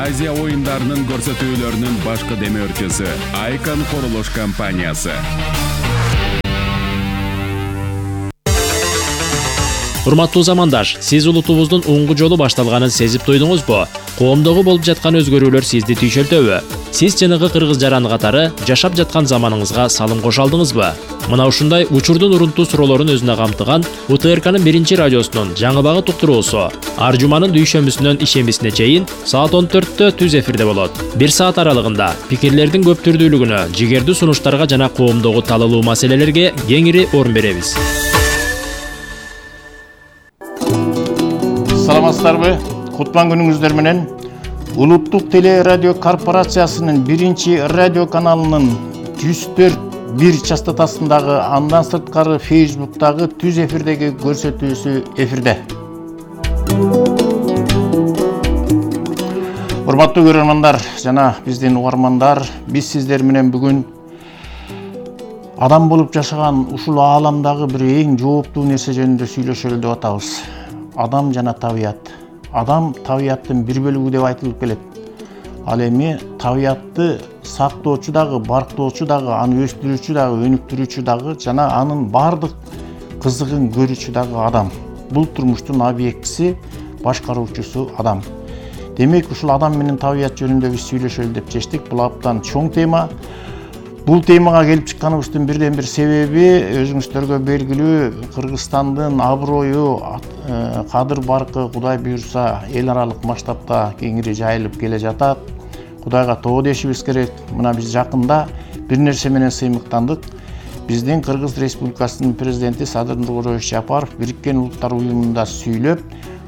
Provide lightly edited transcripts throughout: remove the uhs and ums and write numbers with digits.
Азия оюндарынын көрсөтүүлөрүнүн башкы демөөрчүсү Айкан Курулуш компаниясы. Урматтуу замандаш, сиз улутубуздун оңгу жолу башталганын сезип туйдуңузбу? Коомдогу болуп жаткан өзгөрүүлөр сизди түйшөлтөбү? Сиз жанагы кыргыз жараны катары жашап жаткан заманыңызга салым кошо алдыңызбы? Мына ушундай учурдун урунтуу суроолорун өзүнө камтыган УТРКнын 1-радиосунун жаңы багыт уктуруусу ар жуманын дүйшөмбүсүнөн ишембисине чейин саат 14-тө түз эфирде болот. 1 саат аралыгында пикирлердин көп түрдүүлүгүнө, жигердүү сунуштарга жана коомдогу талалуу маселелерге кеңири орун беребиз. Саламатсыздарбы? Кутман күнүңүздөр менен Улуттук теле радио корпорациясынын 1-радио каналынын 104.1 частотасындагы андан сырткары Facebook'тагы түз эфирдеги көрсөтүүсү эфирде. Урматтуу көрөрмандар жана биздин угармандар, биз сиздер менен бүгүн адам болуп жашаган ушул ааламдагы бир эң жооптуу нерсе жөнүндө сүйлөшөлү деп атабыз. Адам жана табият. Адам табияттын бир бөлүгү деп айтылып келет. Ал эми табиятты сактоочу дагы, барктоочу дагы, аны өстүрүүчү дагы, өнүктүрүүчү дагы жана анын бардык кызыгын көрүүчү дагы адам. Бул турмуштун объектиси, башкаруучусу адам. Демек, ушул адам менен табият жөнүндө биз сүйлөшөлү деп чечтик. Бул абдан чоң тема. Бул темага келип чыкканыбыздын бирден бир себеби өзүңүздөргө белгилүү Кыргызстандын аброю, кадыр баркы Кудай буйрса эл аралык масштабта кеңири жайылып келе жатат. Кудайга тоо дешибиз керек. Мына биз жакында бир нерсе менен сыймыктандык. Биздин Кыргыз Республикасынын президенти Садыр Нуркожоевич Жапаров Бириккен Улуттар уюмунда сүйлөп,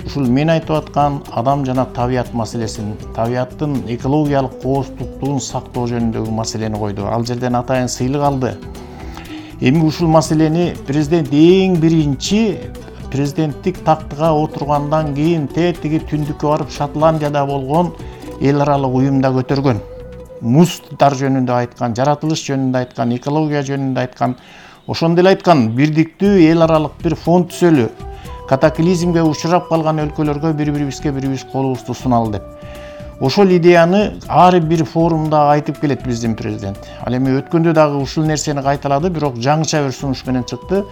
ушул мен айтып аткан адам жана табият маселесин, табияттын экологиялык кооздуктугун сактоо жөнүндөгү маселени койду. Ал жерден атайын сыйлык алды. Эми ушул маселени президент эң биринчи президенттик тактыга отургандан кийин тетиги түндүккө барып Шотландияда болгон эл аралык уюмда көтөргөн. Муздар жөнүндө айткан, жаратылыш жөнүндө айткан, экология жөнүндө айткан, ошондой эле айткан бирдиктүү эл аралык бир фонд түзөлү. Катаклизмге учурап калган өлкөлөргө бири-бирибиз колубузду суналы деп. Ошол идеяны ар бир форумда айтып келет биздин президент. Ал эми өткөндө дагы ушул нерсени кайталады, бирок жаңыча бир сунуш менен чыкты.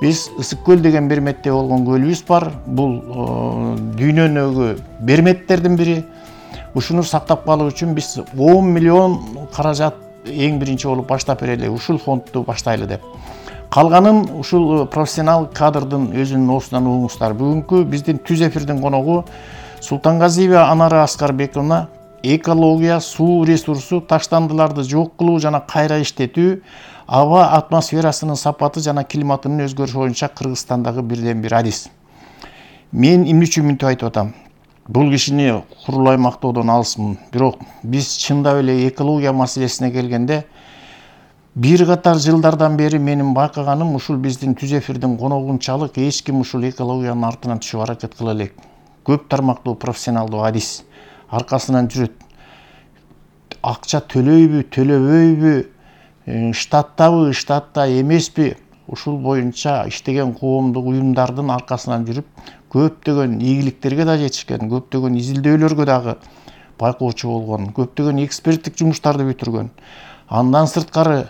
Биз Ысык көл деген берметте болгон көлүбүз бар. Бул дүйнөнүгү берметтердин бири. Ушуну сактап калуу үчүн биз 10 миллион каражат эң биринчи болуп баштап берели, ушул фондду баштайлы деп. Калганын ушул профессионал кадрдын өзүнүн оосунан угуңуздар. Бүгүнкү биздин түз эфирдин коногу Султангазиева Анара Аскарбековна экология, суу ресурсу, таштандыларды жок кылуу жана кайра иштетүү, аба атмосферасынын сапаты жана климатынын өзгөрүшү боюнча Кыргызстандагы бирден бир адис. Мен эмне үчүн мынтип айтып атам? Бул кишини курулай мактоодон алысмын. Бирок биз чындап эле экология маселесине келгенде бир катар жылдардан бери менин байкаганым ушул биздин түз эфирдин коногунчалык эч ким ушул экологиянын артынан түшүп аракет кыла элек. Көп тармактуу профессионалдуу адис аркасынан жүрөт. Акча төлөйбү, төлөбөйбү, штаттабы, штатта эмеспи, ушул боюнча иштеген коомдук уюмдардын аркасынан жүрүп, көптөгөн ийгиликтерге да жетишкен, көптөгөн изилдөөлөргө дагы байкоочу болгон, көптөгөн эксперттик жумуштарды бүтүргөн. Андан сырткары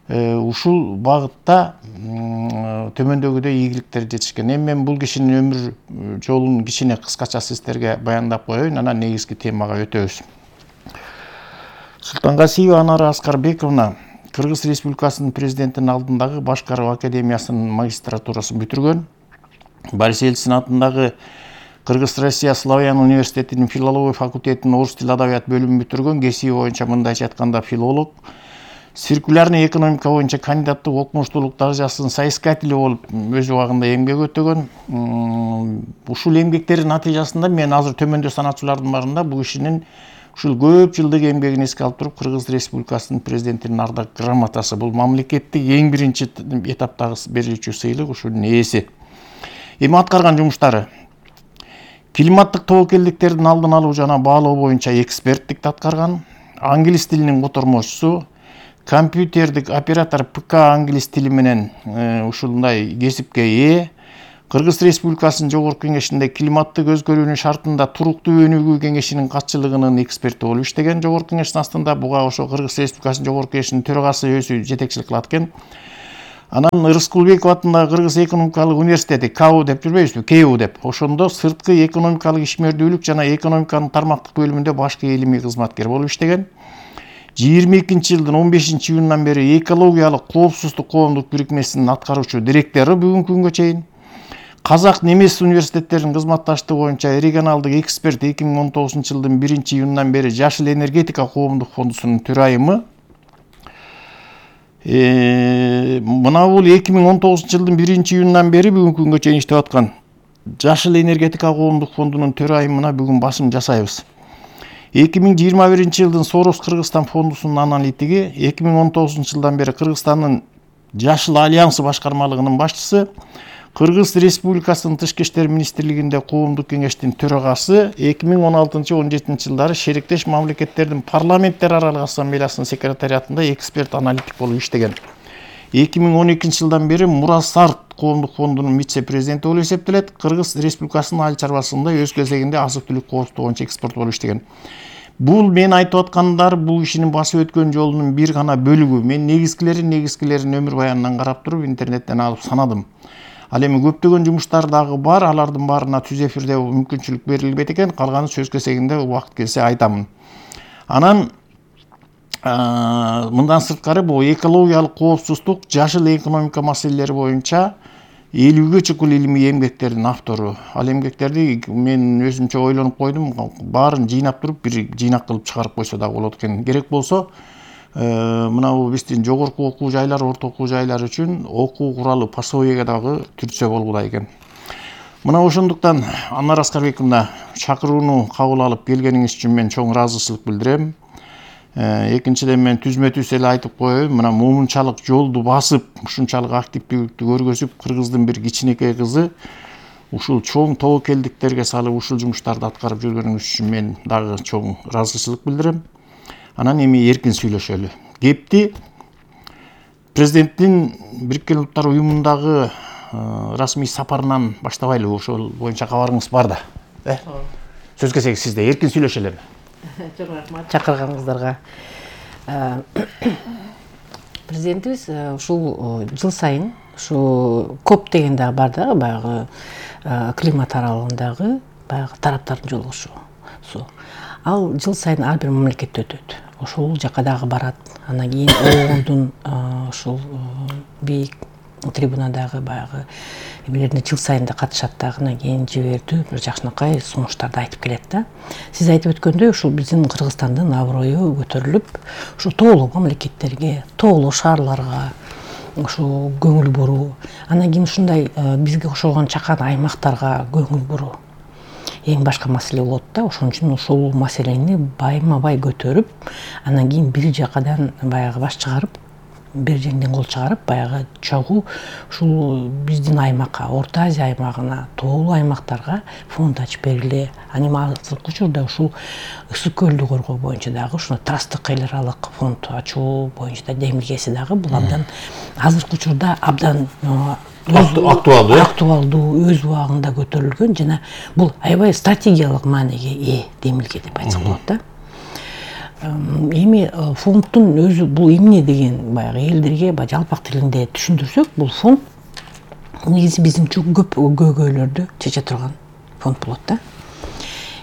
ушул багытта төмөндөгүдөй ийгиликтер жетишкен. Эми мен бул кишинин өмүр жолун кичине кыскача сиздерге баяндап коеюн, анан негизги темага өтөбүз. Султангазиева Анара Аскарбековна Кыргыз Республикасынын президентинин алдындагы Башкаруу академиясынын магистратурасын бүтүргөн. Борис Ельцин атындагы Кыргыз-Россия Славян университетинин филология факультетинин орус тил адабият бөлүмүн бүтүргөн, кесиби боюнча мындайча айтканда филолог. Циркулярный экономика боюнча кандидаттык окумуштуулук даражасынын соискатели болуп өз убагында эмгек өтөгөн. Ушул эмгектердин натыйжасында мен азыр төмөндө саначулардын барында бул кишинин ушул көп жылдык эмгегин эске алып туруп Кыргыз Республикасынын президентинин ардак грамотасы, бул мамлекеттик эң биринчи этаптагы берилүүчү сыйлык, ушунун ээси. Эми аткарган жумуштары: климаттык тобокелдиктердин алдын алуу жана баалоо боюнча эксперттикти аткарган, англис тилинин котормочусу, компьютердик оператор ПК англис тили менен ушундай кесипке ээ, Кыргыз Республикасынын Жогорку Кеңешинде климаттык өзгөрүүнүн шартында туруктуу өнүгүү кеңешинин катчылыгынын эксперти болуп иштеген Жогорку Кеңештин астында. Буга ошо Кыргыз Республикасынын Жогорку Кеңешинин төрагасы өзү жетекчилик кылат экен. Анан Рыскулбеков атындагы Кыргыз экономикалык университети КАУ деп жүрбөйбүзбү, КЭУ деп. Ошондо сырткы экономикалык ишмердүүлүк жана экономиканын тармактык бөлүмүндө башкы илимий кызматкер болуп иштеген. 22-жылдын 15-июнунан бери экологиялык коопсуздук коомдук бирикмесинин аткаруучу директору бүгүнкү күнгө чейин. Казак немес университеттеринин кызматташтыгы боюнча регионалдык эксперт 2019-жылдын 1-июнунан бери Жашыл энергетика коомдук фондусунун төрайымы. Мына бул 2019-жылдын 1-июнунан бери бүгүнкү күнгө чейин иштеп аткан Жашыл энергетика коомдук фондунун төрайымына бүгүн басым жасайбыз. 2021-жылдын Сорос Кыргызстан фондусунун аналитиги, 2019-жылдан бери Кыргызстандын Жашыл альянсы башкармалыгынын башчысы, Кыргыз Республикасынын Тышкы иштер министрлигинде коомдук кеңештин төрагасы, 2016-17 жылдары шериктеш мамлекеттердин парламенттер аралык ассамблеясынын секретариатында эксперт аналитик болуп иштеген. 2012 жылдан бери Мурасарт коомдук фондунун вице-президенти болуп эсептелет. Кыргыз Республикасынын айыл чарбасында өз кезегинде азык-түлүк коопсуздугу боюнча эксперт болуп иштеген. Бул мен айтып аткандар бул кишинин басып өткөн жолунун бир гана бөлүгү. Мен негизгилерин өмүр баянынан карап туруп интернеттен алып санадым. Ал эми көптөгөн жумуштар дагы бар, алардын баарына түз эфирде мүмкүнчүлүк берилбейт экен. Калганы сөз кезегинде убакыт келсе айтамын. Анан мындан сырткары бул экологиялык коопсуздук, жашыл экономика маселелери боюнча 50-гө чукул илимий эмгектердин автору. Ал эмгектерди мен өзүмчө ойлонуп койдум, баарын жыйнап туруп бир жыйнак кылып чыгарып койсо дагы болот экен. Керек болсо мына бул биздин жогорку окуу жайлар, орто окуу жайлар үчүн окуу куралы пособиеге дагы түртсө болгудай экен. Мына ошондуктан Анар Аскарбековна чакырууну кабыл алып келгениңиз үчүн мен чоң ыраазычылык билдирем. Экинчиден мен түзмө-түз эле айтып коеюн, мына момунчалык жолду басып, ушунчалык активдүүлүктү көргөзүп, Кыргыздын бир кичинекей кызы ушул чоң тобокелдиктерге салып ушул жумуштарды аткарып жүргөнүңүз үчүн мен дагы чоң ыраазычылык билдирем. Анан эми эркин сүйлөшөлү. Кепти президенттин Бириккен Улуттар уюмундагы расмий сапарынан баштабайлы, ошол боюнча кабарыңыз бар да. Сөз кезеги сизде, эркин сүйлөшөлү. Чоң рахмат чакырганыңыздарга. Президентибиз ушул жыл сайын ушу коп деген дагы бар да, баягы климат аралыгындагы баягы тараптардын жолугушуусу. Ал жыл сайын ар бир мамлекетте өтөт. Ошол жака дагы барат. Анан кийин ООНдун ушул бийик трибунадагы баягы эмелерине жыл сайын да катышат дагы. Анан кийин жибердүү бир жакшынакай сунуштарды айтып келет да. Сиз айтып өткөндөй ушул биздин Кыргызстандын аброю көтөрүлүп, ушу тоолуу мамлекеттерге, тоолуу шаарларга ушу көңүл буруу. Анан кийин ушундай бизге окшогон чакан аймактарга көңүл буруу эң башка маселе болот да. Ошон үчүн ушул маселени байма-бай көтөрүп, анан кийин бир жакадан баягы баш чыгарып, бир жеңден кол чыгарып, баягы чогуу ушул биздин аймакка, Орто Азия аймагына, тоолуу аймактарга фонд ачып бериле. Азыркы учурда ушул ысык көлдү коргоо боюнча дагы ушуна трасттык эл аралык фонд ачуу боюнча демилгеси дагы бул абдан азыркы учурда абдан актуалдуу, өз убагында көтөрүлгөн жана бул аябай стратегиялык мааниге ээ демилге деп айтсак болот да. Эми фонддун өзү бул эмне деген баягы элдерге жалпак тилинде түшүндүрсөк, бул фонд негизи биздин чоң көп көйгөйлөрдү чече турган фонд болот да.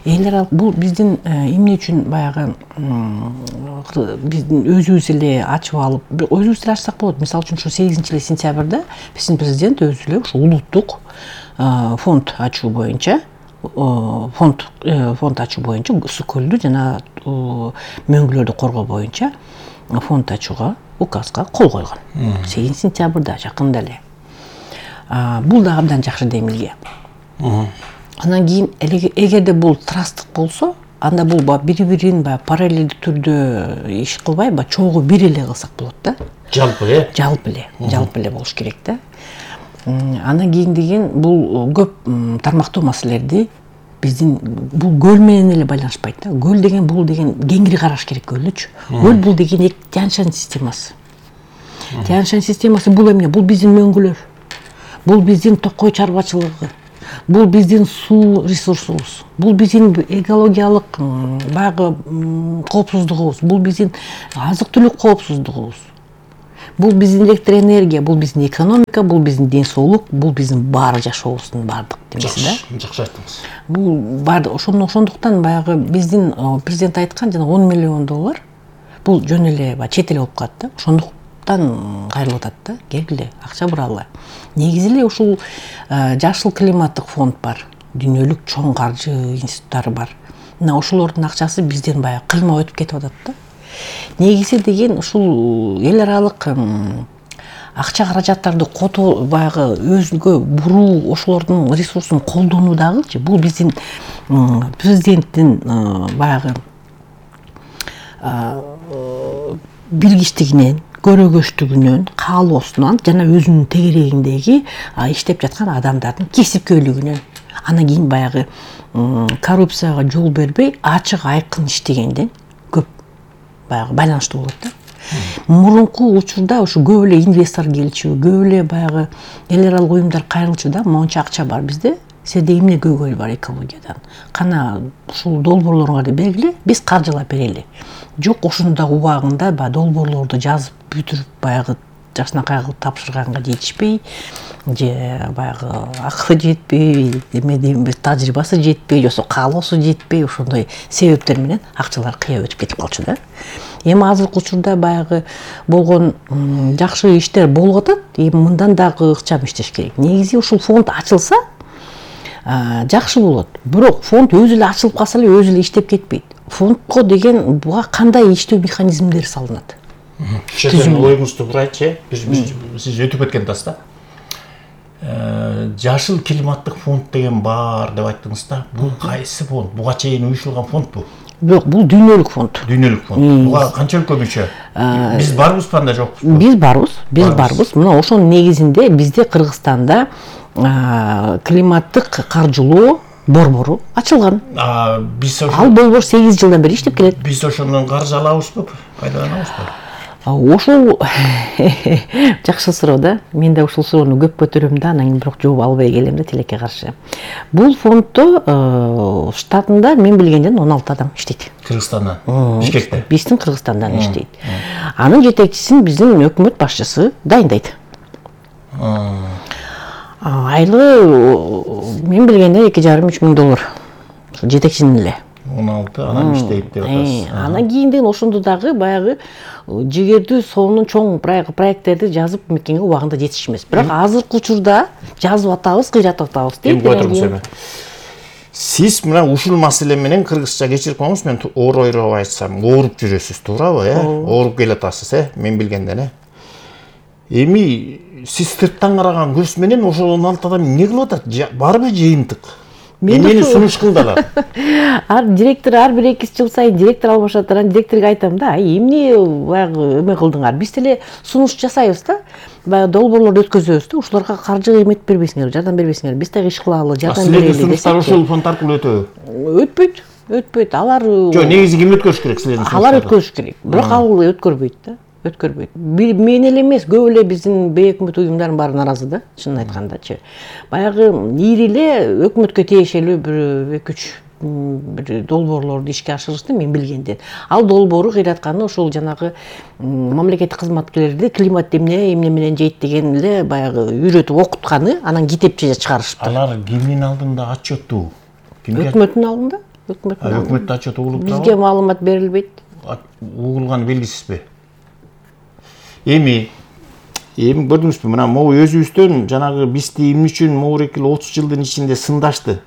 Элдер бул биздин эмне үчүн баягы биздин өзүбүз эле ачып алып, өзүбүз эле ачсак болот. Мисалы үчүн ушу 8-сентябрда биздин президент өзү эле ушу улуттук фонд ачуу боюнча фонд ачуу боюнча ысык көлдү жана мөңгүлөрдү коргоо боюнча фонд ачууга указга кол койгон. 8-сентябрда жакында эле. Бул да абдан жакшы демилге. Анан кийин эгерде бул трасттык болсо, анда бул бири-бирин параллелдүү түрдө иш кылбай, чогуу бир эле кылсак болот да. Жалпы эле болуш керек да. Анан кийин деген бул көп тармактуу маселелерди биздин бул көл менен эле байланышпайт да. Көл деген бул деген кеңири караш керек көлдүчү. Көл бул деген Тянь-Шань системасы. Тянь-Шань системасы бул эмне? Бул биздин мөңгүлөр. бул биздин токой чарбачылыгы, бул биздин суу ресурсубуз, бул биздин экологиялык баягы коопсуздугубуз, бул биздин азык-түлүк коопсуздугубуз, бул биздин электр энергия, бул биздин экономика, бул биздин ден соолук, бул биздин баары жашообуздун баардык немеси да. Жакшы айттыңыз. Бул баардык ошондуктан баягы биздин президент айткан жана $10 миллион бул жөн эле чет эл болуп калат да. Ошондуктан кайрылып атат да. Келгиле, акча буралы. Негизи эле ушул жашыл климаттык фонд бар. Дүйнөлүк чоң каржы институттары бар. Мына ошолордун акчасы бизден баягы кыйма өтүп кетип атат да. Негизи деген ушул эл аралык акча каражаттарды баягы өзгө буруу ошолордун ресурсун колдонуу дагычы бул биздин президенттин баягы билгичтигинен, көрөгөчтүгүнөн, каалоосунан жана өзүнүн тегерегиндеги иштеп жаткан адамдардын кесипкөйлүгүнөн, анан кийин баягы коррупцияга жол бербей ачык айкын иштегенден көп баягы байланыштуу болот да. Мурунку учурда ушу көп эле инвестор келчү, көп эле баягы эл аралык уюмдар кайрылчу да, монча акча бар бизде. Сизде эмне көйгөй бар экологиядан? Кана ушул долбоорлорго бергиле, биз каржылап берели. Жок, ошондо да убагында долбоорлорду жазып бүтүрүп баягы жакшынакай кылып тапшырганга жетишпей, же баягы акылы жетпей, тажрыйбасы жетпей, же каалоосу жетпей, ошондой себептер менен акчалар кыя өтүп кетип калчу да. Эми азыркы учурда баягы болгон жакшы иштер болуп атат, эми мындан дагы ыкчам иштеш керек. Негизи ушул фонд ачылса жакшы болот. Бирок фонд өзү эле ачылып калса эле өзү эле иштеп кетпейт. Фондко деген буга кандай иштөө механизмдери салынат? Чечен оюңузду бурайчы, сиз өтүп кеткен таста. Жашыл климаттык фонд деген бар деп айттыңыз да. Бул кайсы фонд? Буга чейин уюшулган фондбу? Бирок бул дүйнөлүк фонд. Дүйнөлүк фонд. Буга канча өлкө мүчө? Биз барбызбы анда жокпузбу? Биз барбыз. Мына ошонун негизинде бизде Кыргызстанда климаттык каржылоо борбору ачылган. Ал борбор 8 жылдан бери иштеп келет. Биз ошондон каржы алабызбы, пайдаланабызбы? Ошол жакшы суроо да. Мен да ушул суроону көп көтөрөм да, анан бирок жооп албай келем да тилекке каршы. Бул фонддо штатында мен билгенден 16 адам иштейт. Кыргызстандан, Бишкекте. Биздин Кыргызстандан иштейт. Анын жетекчисин биздин өкмөт башчысы дайындайт. Айлыгы мен билгенде $2,5–3 миң. Жетекчинин эле. 16 анан иштейт деп атасыз. Анан кийинден ошондо дагы баягы жигердүү сонун чоң проекттерди жазып мекенге убагында жетишмес. Бирок азыркы учурда жазып атабыз, кыйратып атабыз дейт. Эми турмуз эми. Сиз мына ушул маселе менен кыргызча кечирип коңуз, мен ойроп айтсам, ооруп жүрөсүз, туурабы, ооруп келатасыз, мен билгенден, Эми сиз сырттан караган көз менен ошол 16 адам эмне кылып атат? Барбы жыйынтык? Мени сунуш кылдылар. Директор ар бир 2 жыл сайын директор алмашат, анан директорго айтам да, эмне баягы эме кылдыңар? Биз деле сунуш жасайбыз да, баягы долбоорлорду өткөзөбүз да, ушуларга каржы эмет бербейсиңер, жардам бербейсиңер, биз дагы иш кылалы, жардам берели десек. Сунуштар ошол фонд аркылуу өтөбү? Өтпөйт. Алар жок, негизи ким өткөрүш керек силердин? Алар өткөрүш керек. Бирок ал өткөрбөйт да. Өткөрбөйт. Мен эле эмес, көп эле биздин бейөкмөт уюмдардын баары нааразы да, чынын айткандачы. Баягы ири эле өкмөткө тиешелүү бир 2-3 долбоорлорду ишке ашырышты мен билгенден. Ал долбоору кыйратканы ошол жанагы мамлекеттик кызматкерлерди климат эмне менен жейт деген эле баягы үйрөтүп окутканы, анан китепче чыгарышты. Алар кимдин алдында отчеттуу? Өкмөттүн алдында. Өкмөттө отчет угулуп турабы? Бизге маалымат берилбейт. Угулганы белгисизби? Эми көрдүңүзбү, мына могу өзүбүздөн жанагы бизди эмне үчүн могу 30 жылдын ичинде сындашты.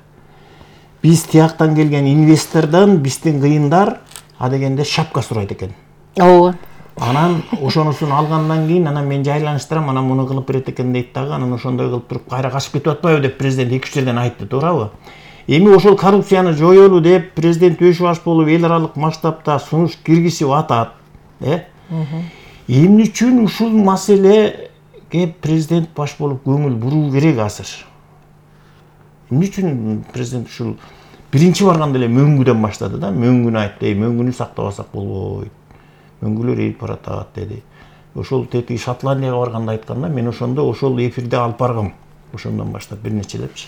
Биз тияктан келген инвестордон биздин кыйындар дегенде шапка сурайт экен. Ооба. Анан ошонусун алгандан кийин анан мен жайланыштырам, анан муну кылып берет экен дейт дагы, анан ошондой кылып туруп кайра качып кетип атпайбы деп президент 2-3 жерден айтты, туурабы? Эми ошол коррупцияны жоёлу деп президент өч баш болуп эл аралык масштабта сунуш киргизип атат, Эмне үчүн ушул маселеге президент баш болуп көңүл буруу керек азыр? Эмне үчүн президент ушул биринчи барганда эле мөңгүдөн баштады да, мөңгүнү айтты, мөңгүнү сактабасак болбойт. Мөңгүлөр ийип баратат деди. Ошол тети Шотландияга барганда айтканда, мен ошондо ошол эфирде алып баргам. ошондон баштап бир нечелепчи.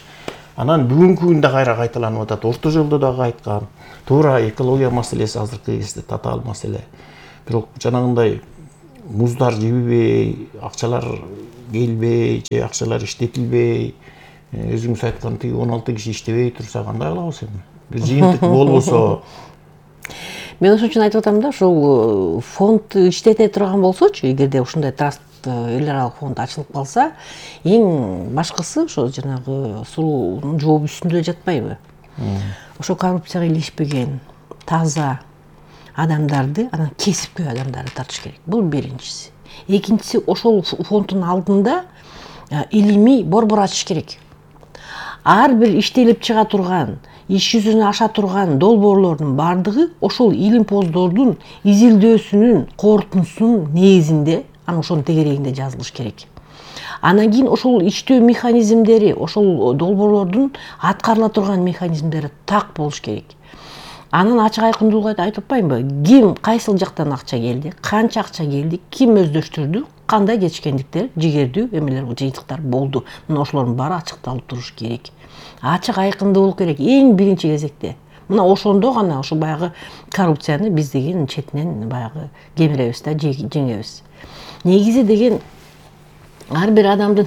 Анан бүгүнкү күндө кайра кайталанып атат. Орто жолдо дагы айткан. Туура экология маселеси азыркы кезде татаал маселе. Бирок жанагындай муздар жебебей, акчалар келбей, же акчалар иштетилбей, өзүңүз айткан тиги 16 киши иштебей турса кандай кылабыз эми? Бир жыйынтык болбосо. Мен ошон үчүн айтып атам да, ушул фонд иштете турган болсочу, эгерде ушундай траст эл аралык фонд ачылып калса, эң башкысы ошо жанагы суунун жооп үстүндө жатпайбы? Ошо коррупцияга илишпеген, таза адамдарды, анан кесипкөй адамдарды тартыш керек. Бул биринчиси. Экинчиси, ошол фонддун алдында илимий борбор ачыш керек. Ар бир иштелип чыга турган, иш жүзүнө аша турган долбоорлордун бардыгы ошол илимпоздордун изилдөөсүнүн корутундусунун негизинде, анан ошонун тегерегинде жазылыш керек. Анан кийин ошол иштөө механизмдери, ошол долбоорлордун аткарыла турган механизмдери так болуш керек. Анан ачык айкындуулук айтып атпаймынбы? Ким кайсыл жактан акча келди, канча акча келди, ким өздөштүрдү, кандай жетишкендиктер, жигердүү эмелер, жыйынтыктар болду. Мына ошолордун баары ачыкталып туруш керек. Ачык айкындуу болуш керек эң биринчи кезекте. Мына ошондо гана ошо баягы коррупцияны биз деген четинен баягы кемиребиз да, жеңебиз. Негизи деген ар бир адамдын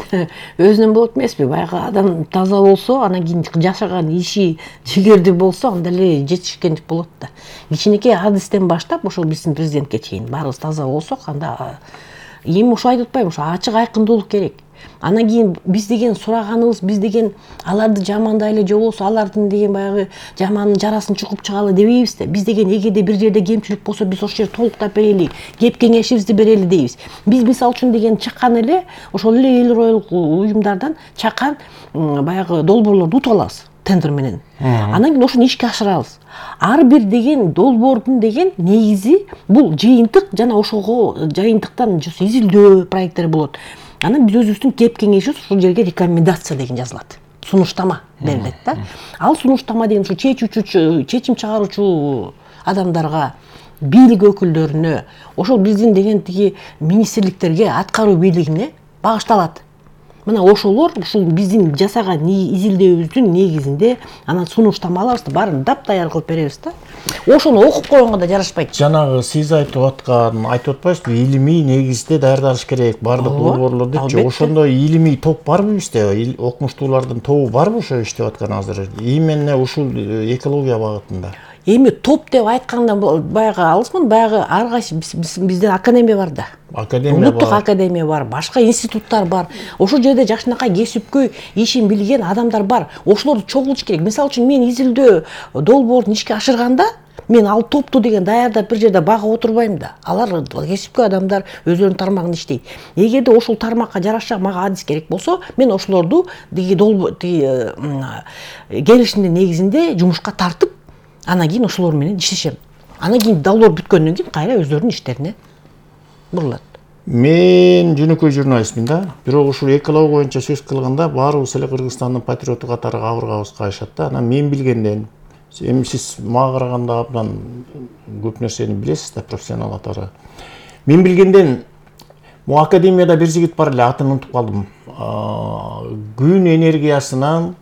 өзүнөн болот эмеспи? Баягы адам таза болсо, анан кийин жашаган иши жигердүү болсо, анда эле жетишкендик болот да. Кичинекей адистен баштап ошол биздин президентке чейин баарыбыз таза болсок, анда эми ошо айтып атпаймынбы? Ошо ачык айкындуулук керек. Анан кийин биз деген сураганыбыз, биз деген аларды жамандайлы же болбосо алардын деген баягы жаман жарасын чукуп чыгалы дебейбиз да. Биз деген эгерде бир жерде кемчилик болсо, биз ошол жерди толуктап берели, кеп кеңешибизди берели дейбиз. Биз мисалы үчүн деген чаккан эле ошол эле эл ройлук уюмдардан чаккан баягы долбоорлорду утуп алабыз тендер менен. Анан кийин ошону ишке ашырабыз. Ар бир деген долбоордун деген негизи бул жыйынтык, жана ошого жыйынтыктан изилдөө проекттери болот. Анан биз өзүбүздүн кеп кеңешибиз ушул жерге рекомендация деген жазылат. Сунуштама берилет да. Ал сунуштама деген ушу чечим чыгаруучу адамдарга, бийлик өкүлдөрүнө, ошол биздин деген тиги министрликтерге, аткаруу бийлигине багышталат. Мына ошолор ушул биздин жасаган изилдөөбүздүн негизинде анан сунуштама алабыз да, баарын дап-даяр кылып беребиз да. Ошону окуп койгонго да жарашпайт. Жанагы сиз айтып атпайсызбы, илимий негизде даярдалыш керек, бардык долбоорлор депчи. Ошондо илимий топ барбы бизде? Окумуштуулардын тобу барбы ошо иштеп аткан азыр? Именно ушул экология багытында. Эми топ деп айтканда баягы алысмын, баягы ар кайсы бизде академия бар да. Улуттук академия бар, башка институттар бар. Ошол жерде жакшынакай кесипкөй ишин билген адамдар бар. Ошолорду чогултуш керек. Мисалы үчүн мен изилдөө долбоорун ишке ашырганда, мен ал топту деген даярдап бир жерде багып отурбайм да. Алар кесипкөй адамдар өзүнүн тармагында иштейт. Эгерде ошол тармакка жараша мага адис керек болсо, мен ошолорду келишимдин негизинде жумушка тартып, анан кийин ошолор менен иштешем. Анан кийин долбоор бүткөндөн кийин кайра өздөрүнүн иштерине бурулат. Мен жөнөкөй журналистмин да. Бирок ушул экология боюнча сөз кылганда баарыбыз эле Кыргызстандын патриоту катары кабыргабыз кайышат да. Анан мен билгенден, эми сиз мага караганда абдан көп нерсени билесиз да, профессионал катары. Мен билгенден могу академияда бир жигит бар эле, атын унутуп калдым. Күн энергиясынан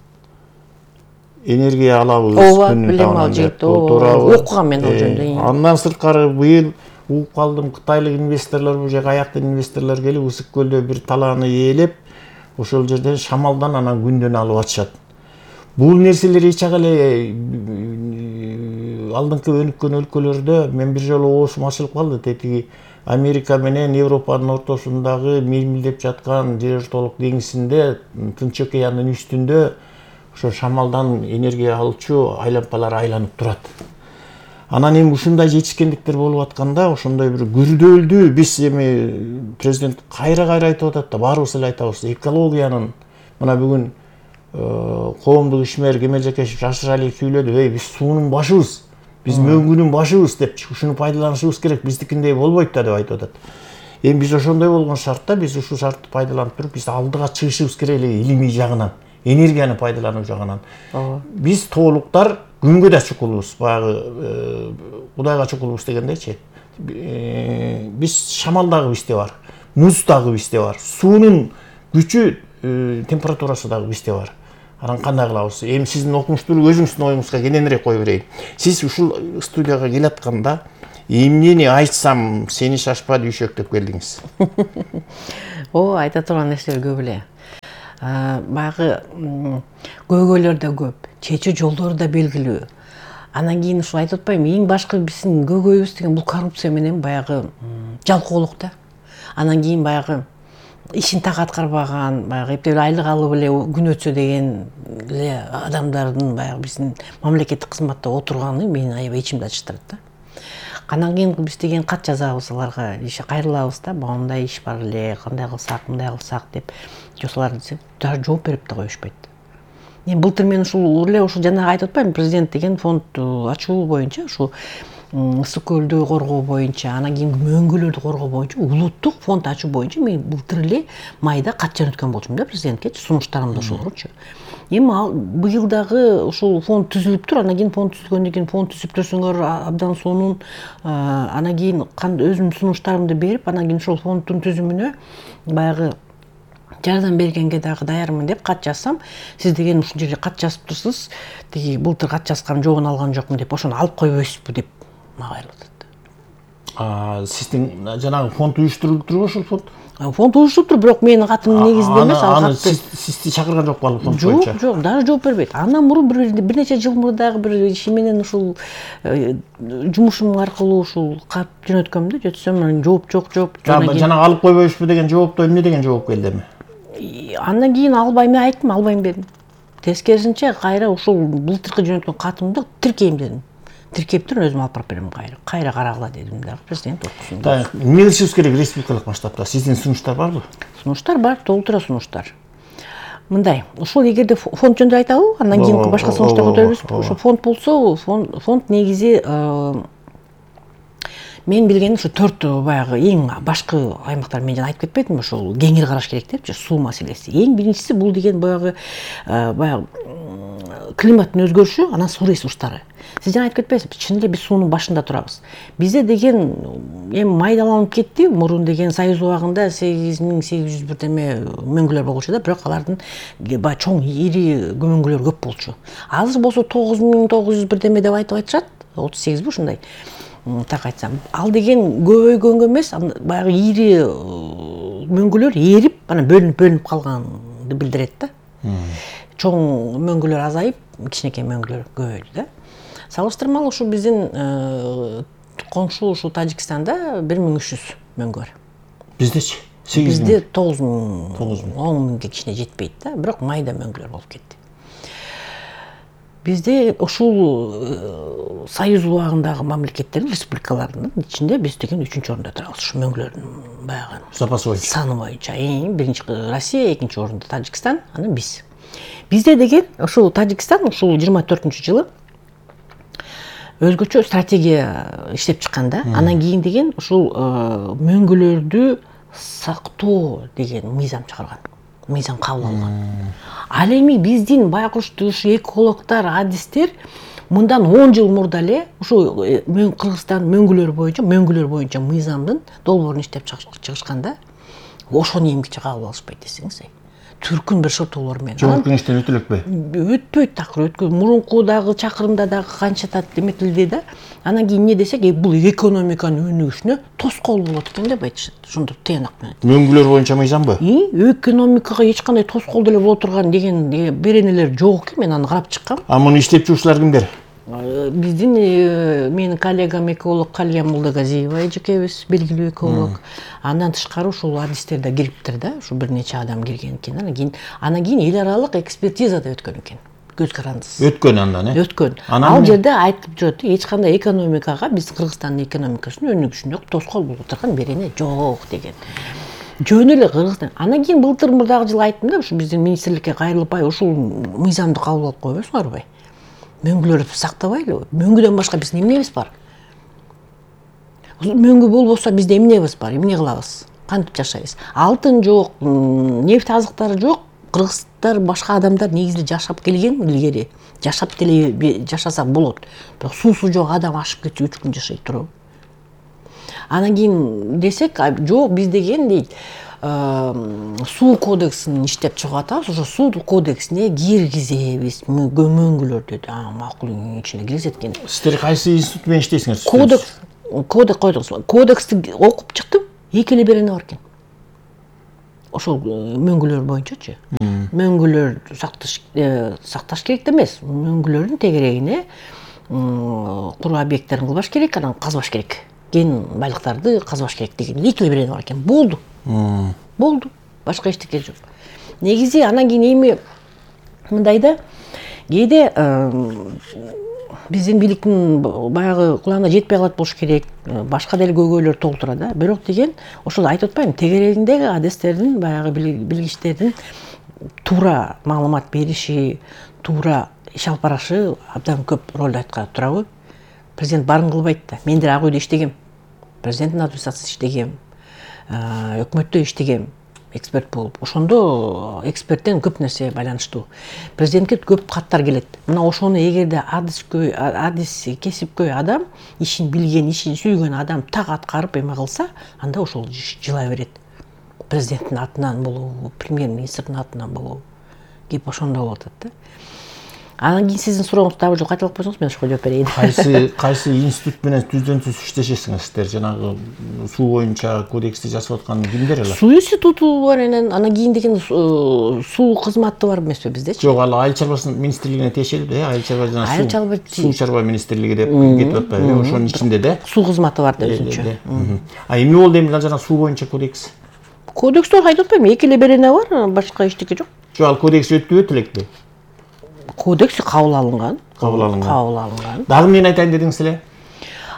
энергия алабыз. Ооба, билем ал жигитти. Окугам мен ал жөнүндө. Андан сырткары быйыл угуп калдым, кытайлык инвесторлор, бул жерге аяктын инвесторлор келип, Ысык көлдө бир талааны ээлеп, ошол жерден шамалдан анан күндөн алып атышат. Бул нерселер эч ак эле алдыңкы өнүккөн өлкөлөрдө мен бир жолу оосум ачылып калды. Тетиги Америка менен Европанын ортосундагы мелмилдеп жаткан жер ортолук деңизинде, Тынч океандын үстүндө ошо шамалдан энергия алуучу айлампалар айланып турат. Анан эми ушундай жетишкендиктер болуп атканда, ошондой бир күрдөөлдүү биз эми президент кайра айтып атат да, баарыбыз эле айтабыз, экологиянын мына бүгүн коомдук ишмер Кемел Жакешев Жашыралиев сүйлөдү, биз суунун башыбыз, биз мөңгүнүн башыбыз деп, ушуну пайдаланышыбыз керек, биздикиндей болбойт да деп айтып атат. Эми биз ошондой болгон шартта, биз ушул шартты пайдаланып туруп, биз алдыга чыгышыбыз керек эле илимий жагынан, энергияны пайдалануу жагынан. Биз тоолуктар күнгө да чукулбуз, баягы Кудайга чукулбуз дегендейчи. Биз шамал дагы бизде бар, муз дагы бизде бар. Суунун күчү температурасы дагы бизде бар. Анан кандай кылабыз? Эми сиздин окумуштуулук өзүңүздүн оюңузга кененирээк кое берейин. Сиз ушул студияга келатканда эмнени айтсам сени шашпа дүйшөк деп келдиңиз? Айта турган нерселер көп эле. Баягы көйгөйлөр да көп, чечүү жолдору да белгилүү. Анан кийин ушул айтып атпайбы, эң башкы биздин көйгөйүбүз деген бул коррупция менен баягы жалкоолук да. Анан кийин баягы ишин так аткарбаган, баягы эптеп айлык алып эле күн өтсө деген эле адамдардын баягы биздин мамлекеттик кызматта отурганы мени аябай ичимди ачыштырат да. Анан кийин биз деген кат жазабыз аларга, кайрылабыз да, мындай иш бар эле, кандай кылсак, мындай кылсак деп. Жосалар десе, даже жооп берип да коюшпайт. Эми былтыр мен ушул эле жанагы айтып атпаймынбы, президент деген фонд ачуу боюнча ушу ысык көлдү коргоо боюнча, анан кийин мөңгүлөрдү коргоо боюнча улуттук фонд ачуу боюнча мен былтыр эле майда кат жөнөткөн болчумун да президенткечи, сунуштарымды ошолорчу. Эми быйыл дагы ушул фонд түзүлүптүр. Анан кийин фонд түзүлгөндөн кийин фонд түзүп берсеңер абдан сонун, анан кийин өзүмдүн сунуштарымды берип, анан кийин ошол фонддун түзүмүнө баягы жардам бергенге дагы даярмын деп кат жазсам, сиз деген ушул жерге кат жазыптырсыз, тиги былтыр кат жазгам жообун алган жокмун деп, ошону алып койбойсузбу деп мага кайрылып атат. Сиздин жанагы фонд уюштурулуп турбу ошол фонд? Фонд уюштуруптур, бирок менин катымдын негизинде эмес, ал катты. Сизди чакырган жокпу ал фонд боюнча? Жок, даже жооп бербейт. Андан мурун бир нече жыл мурун дагы бир иши менен ушул жумушум аркылуу ушул кат жөнөткөм да, жетсем жооп жок. Жанагы алып койбойсузбу деген жоопто эмне деген жооп келди эми? Андан кийин албайм айттым, албайм дедим. Тескерисинче кайра ушул былтыркы жөнөткөн катымды тиркейм дедим. Тиркеп туруп өзүм алып барып берем кайра карагыла дедим дагы президент окусун. Эмне кылышыбыз керек республикалык масштабта? Сиздин сунуштар барбы? Сунуштар бар, толтура сунуштар. Мындай, ушул эгерде фонд жөнүндө айтабы, андан кийин башка сунуштар көтөрөбүзбү? Ошо фонд болсо, фонд негизи мен билгеним ушу 4 баягы эң башкы аймактар, мен жана айтып кетпедимби, ошол кеңири караш керек депчи, суу маселеси. Эң биринчиси бул деген баягы климаттын өзгөрүшү, анан суу ресурстары. Сиз жана айтып кетпейсизби, чын эле биз суунун башында турабыз. Бизде деген эми майдаланып кетти, мурун деген Союз убагында 8800 бирдеме мөңгүлөр болчу да, бирок алардын баягы чоң ири мөңгүлөр көп болчу. Азыр болсо 9900 бирдеме деп айтып атышат, 38 ушундай. Так айтсам, ал деген көбөйгөнгө эмес, баягы ири мөңгүлөр эрип, анан бөлүнүп калганды билдирет да. Чоң мөңгүлөр азайып, кичинекей мөңгүлөр көбөйдү да. Салыштырмалуу ушу биздин коңшу ушул Тажикстанда 1300 мөңгү бар. Биздечи 8000. Бизде 9000, 10000 кичине жетпейт да, бирок майда мөңгүлөр болуп кетти. Бизде ушул Союз убагындагы мамлекеттердин, республикалардын ичинде биз деген 3-орунда турабыз. Ушу мөңгүлөрдүн баягы запасы боюнча, саны боюнча. Биринчи Россия, экинчи орунда Тажикстан, анан биз. Бизде деген ушул Тажикстан ушул 24-жылы өзгөчө стратегия иштеп чыкканда, анан кийин деген ушул мөңгүлөрдү сактоо деген мыйзам чыгарган. Мыйзам кабыл алган. Ал эми биздин баягы ушу экологдор, адистер мындан 10 жыл мурда эле ушу Кыргызстан мөңгүлөр боюнча мыйзамдын долбоорун иштеп чыгышканда, ошону эмгиче кабыл алышпайт десеңиз. Түркүн бир шортолор менен. Жогорку кеңештен өтүлөкпү? Өтпөйт такыр, мурунку дагы чакырымда дагы канча эметилди да. Анан кийин эмне десек, бул экономиканын өнүгүшүнө тоскоол болот экен деп айтышат. Ошондо тыянак менен. Мөңгүлөр боюнча мыйзамбы? Экономикага эч кандай тоскоол деле боло турган деген беренелер жок экен, мен аны карап чыккам. Муну иштеп жүрүүчүлөр кимдер? Биздин менин коллегам эколог Калия Молдогазиева эжекебиз, белгилүү эколог. Андан тышкары ушул адистер да кириптир да, ушу бир нече адам кирген экен. Анан кийин эл аралык экспертиза да өткөн экен. Көз карандысыз. Өткөн андан, Өткөн. Ал жерде айтып жүрөт, эч кандай экономикага, биз Кыргызстандын экономикасынын өнүгүшүнө тоскоол боло турган берене жок деген. Жөн эле Кыргызстан. Анан кийин былтыр мурдагы жылы айттым да, ушу биздин министрликке кайрылып, ушул мыйзамды кабыл алып койбойсуңарбы? Мөңгүлөрдү сактабайлыбы? Мөңгүдөн башка биздин эмнебиз бар? Мөңгү болбосо бизде эмнебиз бар? Эмне кылабыз? Кантип жашайбыз? Алтын жок, нефть азыктары жок. Кыргыздар, башка адамдар негизи жашап келген илгери. Жашап деле жашаса болот. Бирок суусу жок адам ашып кетсе 3 күн жашай турабы? Анан кийин десек, жок, биз деген дейт, суу кодексин иштеп чыгып атабыз. Ошо суу кодексине киргизебиз мөңгүлөрдү. Макулдун ичине киргизет экен. Сиздер кайсы институт менен иштейсиңер? Кодексти окуп чыктым. 2 эле берене бар экен. Ошол мөңгүлөр боюнчачы. Мөңгүлөр сакташ керек эмес. Мөңгүлөрдүн тегерегине куруу объекттерин кылбаш керек, анан казбаш керек. Кен байлыктарды казбаш керек деген 2 эле берене бар экен. Болду. Башка эчтеке жок. Негизи анан кийин эми мындайда кээде биздин бийликтин баягы кулагына жетпей калат болуш керек, башка деле көйгөйлөр толтура да. Бирок деген ошол айтып атпаймынбы, тегерегиндеги адестердин, баягы билгичтердин туура маалымат бериши, туура иш алып барышы абдан көп ролду аткарып турабы. Президент баарын кылбайт да. Мен деле ак үйдө иштегем. Президенттин администрациясында иштегем. Өкмөттө иштегем. Эксперт болуп. Ошондо эксперттен көп нерсе байланыштуу. Президентке көп каттар келет. Мына ошону эгерде адис кесипкөй адам, ишин билген, ишин сүйгөн адам так аткарып эме кылса, анда ошол жылай берет. Президенттин атынан болобу, премьер-министрдин атынан болобу. Кеп ошондо болуп атат да. Анан кийин сиздин сурооңузду дагы жок кайталап койсоңуз, мен ошого жооп берейин. Кайсы институт менен түздөн-түз иштешесиңер сиздер? Жанагы суу боюнча кодексти жасап аткан кимдер эле? Суу институту бар, анан кийин деген суу кызматы бар эмеспи биздечи? Жок, ал Айыл чарба министрлигине тиешелүү, Айыл чарба жана суу чарба министрлиги деп кетип атпайбы? Ошонун ичинде да? Суу кызматы бар да өзүнчө. Эмне болду эми ал жана суу боюнча кодекс? Кодекстер айтып атпаймынбы, 2 эле берене бар, башка эчтеке жок. Жок, ал кодекс өтүп элекпи? Кодекс кабыл алынган. Дагы эмнени айтайын дедиңиз эле?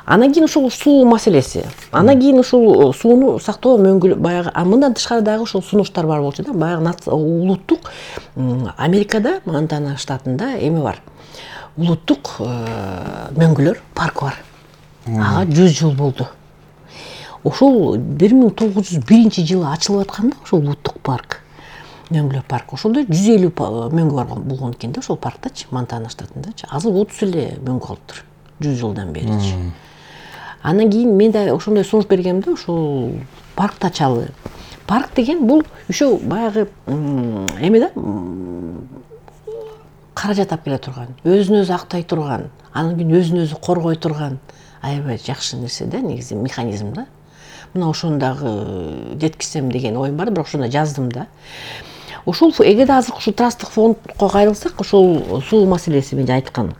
Анан кийин ушул суу маселеси. Анан кийин ушул сууну сактоо мөңгүл баягы мындан тышкары дагы ушул сунуштар бар болчу да. Баягы улуттук Америкада, Монтана штатында эме бар. Улуттук мөңгүлөр паркы бар. Ага 100 жыл болду. Ошол 1901-жылы ачылып атканда ошол улуттук парк. Мөңгүлөр парк. Ошондо 150 мөңгү бар болгон экен да ошол парктачы, Монтана штатындачы. Азыр 30 эле мөңгү калыптыр. 100 жылдан беричи. Анан кийин мен да ошондой сунуш бергем да, ошол паркты ачалы. Парк деген бул ошо баягы эме да, каражат алып келе турган, өзүн өзү актай турган, анан кийин өзүн өзү коргой турган аябай жакшы нерсе да, негизи механизм да. Мына ошону дагы жеткизсем деген оюм бар, бирок ошондо жаздым да. Ошол эгерде азыр ушул трасттык фондко кайрылсак, ошол суу маселеси мен айткан.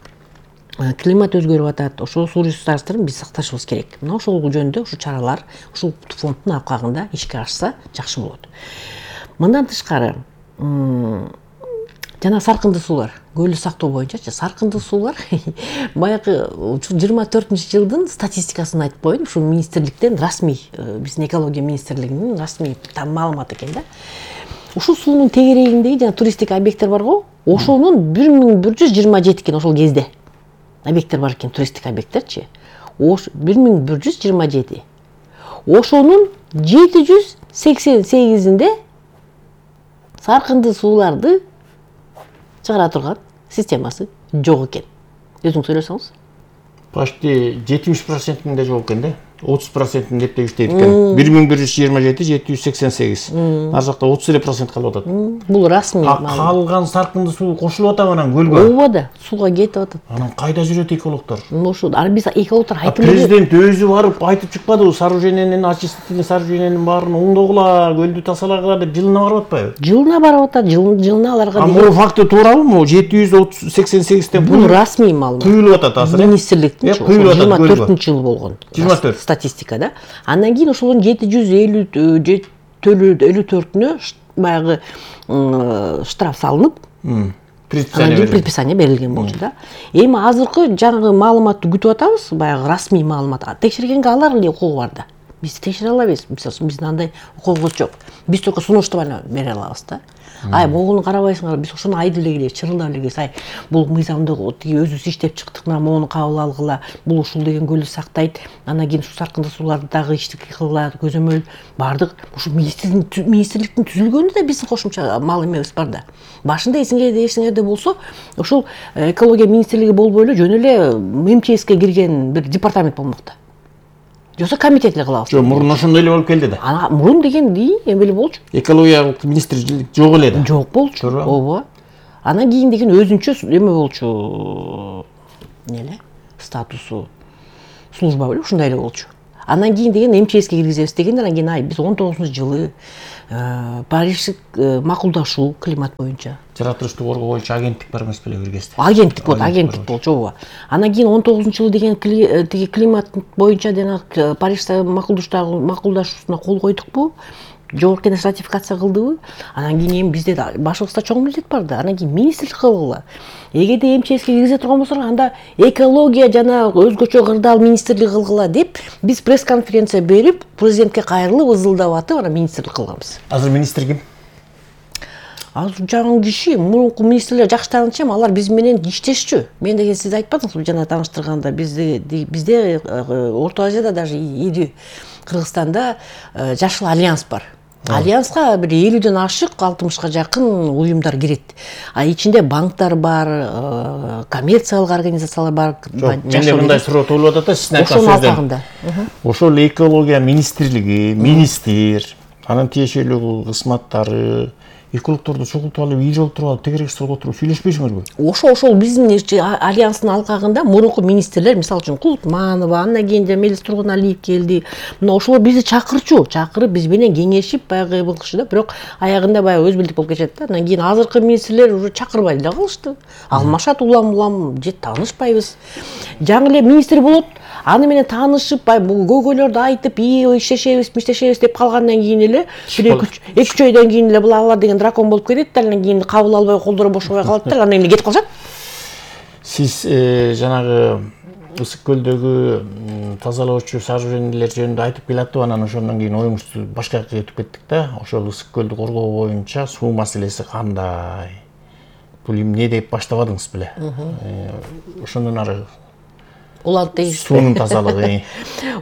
Климат өзгөрүп атат, ошол суу ресурстарын биз сакташыбыз керек. Мына ошол жөнүндө ушул чаралар ушул фонддун алкагында ишке ашса жакшы болот. Мындан тышкары жана саркынды суулар, көлдү сактоо боюнчачы саркынды суулар баягы 24-жылдын статистикасын айтып коеюн, ушул министрликтен расмий, биздин экология министрлигинин расмий маалымат экен да. Ушул суунун тегерегиндеги жана туристтик объекттер барго, ошонун 1127 экен ошол кезде. Объекттер бар экен, туристтик объекттерчи. 1127. Ошонун 788-инде саркынды сууларды чыгара турган системасы жок экен. Өзүңүз ойлосоңуз? Почти 70%-inde жок экен да. 30%-ин деп иштейт экен. 1127, 788. Ар жакта 30% калып атат. Бул расмий маалымат. Калган саркынды суу кошулуп атабы анан көлгө? Ооба да, сууга кетип атат. Анан кайда жүрөт экологдор? Ошо биз экологдор айтып Президент өзү барып айтып чыкпадыбы, сооружениянын очистительный сооружениянын баарын оңдогула, көлдү тазалагыла деп жылына барып атпайбы? Жылына барып атат, жылына аларга. Бул факты туурабы? 788-тен бул расмий маалымат. Куюлуп атат азыр. Министрликтин 24-жыл болгон. 24 статистикада. Андан кийин ошолун 754-үнө баягы штраф салынып, предписание берилген болчу да. Эми азыркы жаңы маалыматты күтүп атабыз, баягы расмий маалымат. Текшергенге алар эле укугу бар да. Биз текшере алабыз, биздин андай укугубуз жок. Биз только сунуштарма бере алабыз да. Могуну карабайсыңар, биз ошону айтып эле келебиз, чырылдап эле келебиз. Бул мыйзамды тиги өзүбүз иштеп чыктык, могуну кабыл алгыла, бул ушул деген көлдү сактайт. Анан кийин ушу саркынды сууларды дагы иштик кылгыла, көзөмөл бардык. Ушу министрликтин түзүлгөнү да биздин кошумча маалымебиз бар да. Башында эсиңерде болсо, ушул экология министрлиги болбой эле жөн эле МЧСке кирген бир департамент болмокто. жоксо комитет эле кылабыз. Жок, мурун ошондой эле болуп келди да. Ана мурун деген эмне эле болчу? Экологиялык министрлик жок эле да. Жок болчу. Ооба. Анан кийин деген өзүнчө эме болчу. Эле статусу служба беле ушундай эле болчу. Анан кийин деген МЧСке киргизебиз дегенде, анан кийин биз 19-жылы Париждик макулдашуу климат боюнча. Жаратылышты коргоо боюнча агенттик бар эмес беле Кыргызстан? Агенттик болчу, ооба. Анан кийин 19-жылы деген тиги климат боюнча деген Парижда макулдашуусуна кол койдукпу? Жогорку Кеңеш ратификация кылдыбы? Анан кийин эми бизде башыбызда чоң милдет бар да. Анан кийин министрлик кылгыла. Эгерде МЧСке киргизе турган болсо, анда экология жана өзгөчө кырдаал министрлик кылгыла деп биз пресс-конференция берип, президентке кайрылып ызылдап атып, анан министрлик кылганбыз. Азыр министр ким? Азыр жаңы киши, мурунку министрлер жакшы таанышчу, алар биз менен иштешчү. Мен деген сиз айтпадыңызбы жана тааныштырганда, бизде Орто Азияда даже ири Кыргызстанда Жашыл альянс бар. Альянска бир 50ден ашык, 60ка жакын уюмдар кирет. Ичинде банктар бар, коммерциялык организациялар бар. Менде мындай суроо туулуп атат да, сиздин айткан сөздөн. Ошол экология министрлиги, министр, анын тиешелүү кызматтары экологторду чогултуп алып, ир олтуруп алып, тегерек столго отуруп сүйлөшпөйсүңөрбү? Ошол биздин альянстын алкагында мурунку министрлер, мисалы үчүн Култманова, андан кийин Мелис Тургуналиев келди. Мына ошолор бизди чакырып биз менен кеңешип баягы кылышты да, бирок аягында баягы өз билдик болуп кетет да. Андан кийин азыркы министрлер уже чакырбай да калышты. Алмашат улам же таанышпайбыз. Жаңы эле министр болот. Аны менен таанышып, бул көйгөйлөрдү айтып, иштешебиз деп калгандан кийин эле 2-3 айдан кийин эле алар деген дракон болуп кетет да, анан кийин кабыл албай, колдору бошобой калат да, анан эмне кетип калышат. Сиз жанагы Ысык көлдөгү тазалоочу сооружениялер жөнүндө айтып келатып, анан ошондон кийин оюңузду башка жака өтүп кеттик да. Ошол Ысык көлдү коргоо боюнча суу маселеси кандай? Бул эмне деп баштабадыңыз беле? Ошондон ары Улант дейбиз. Суунун тазалыгы.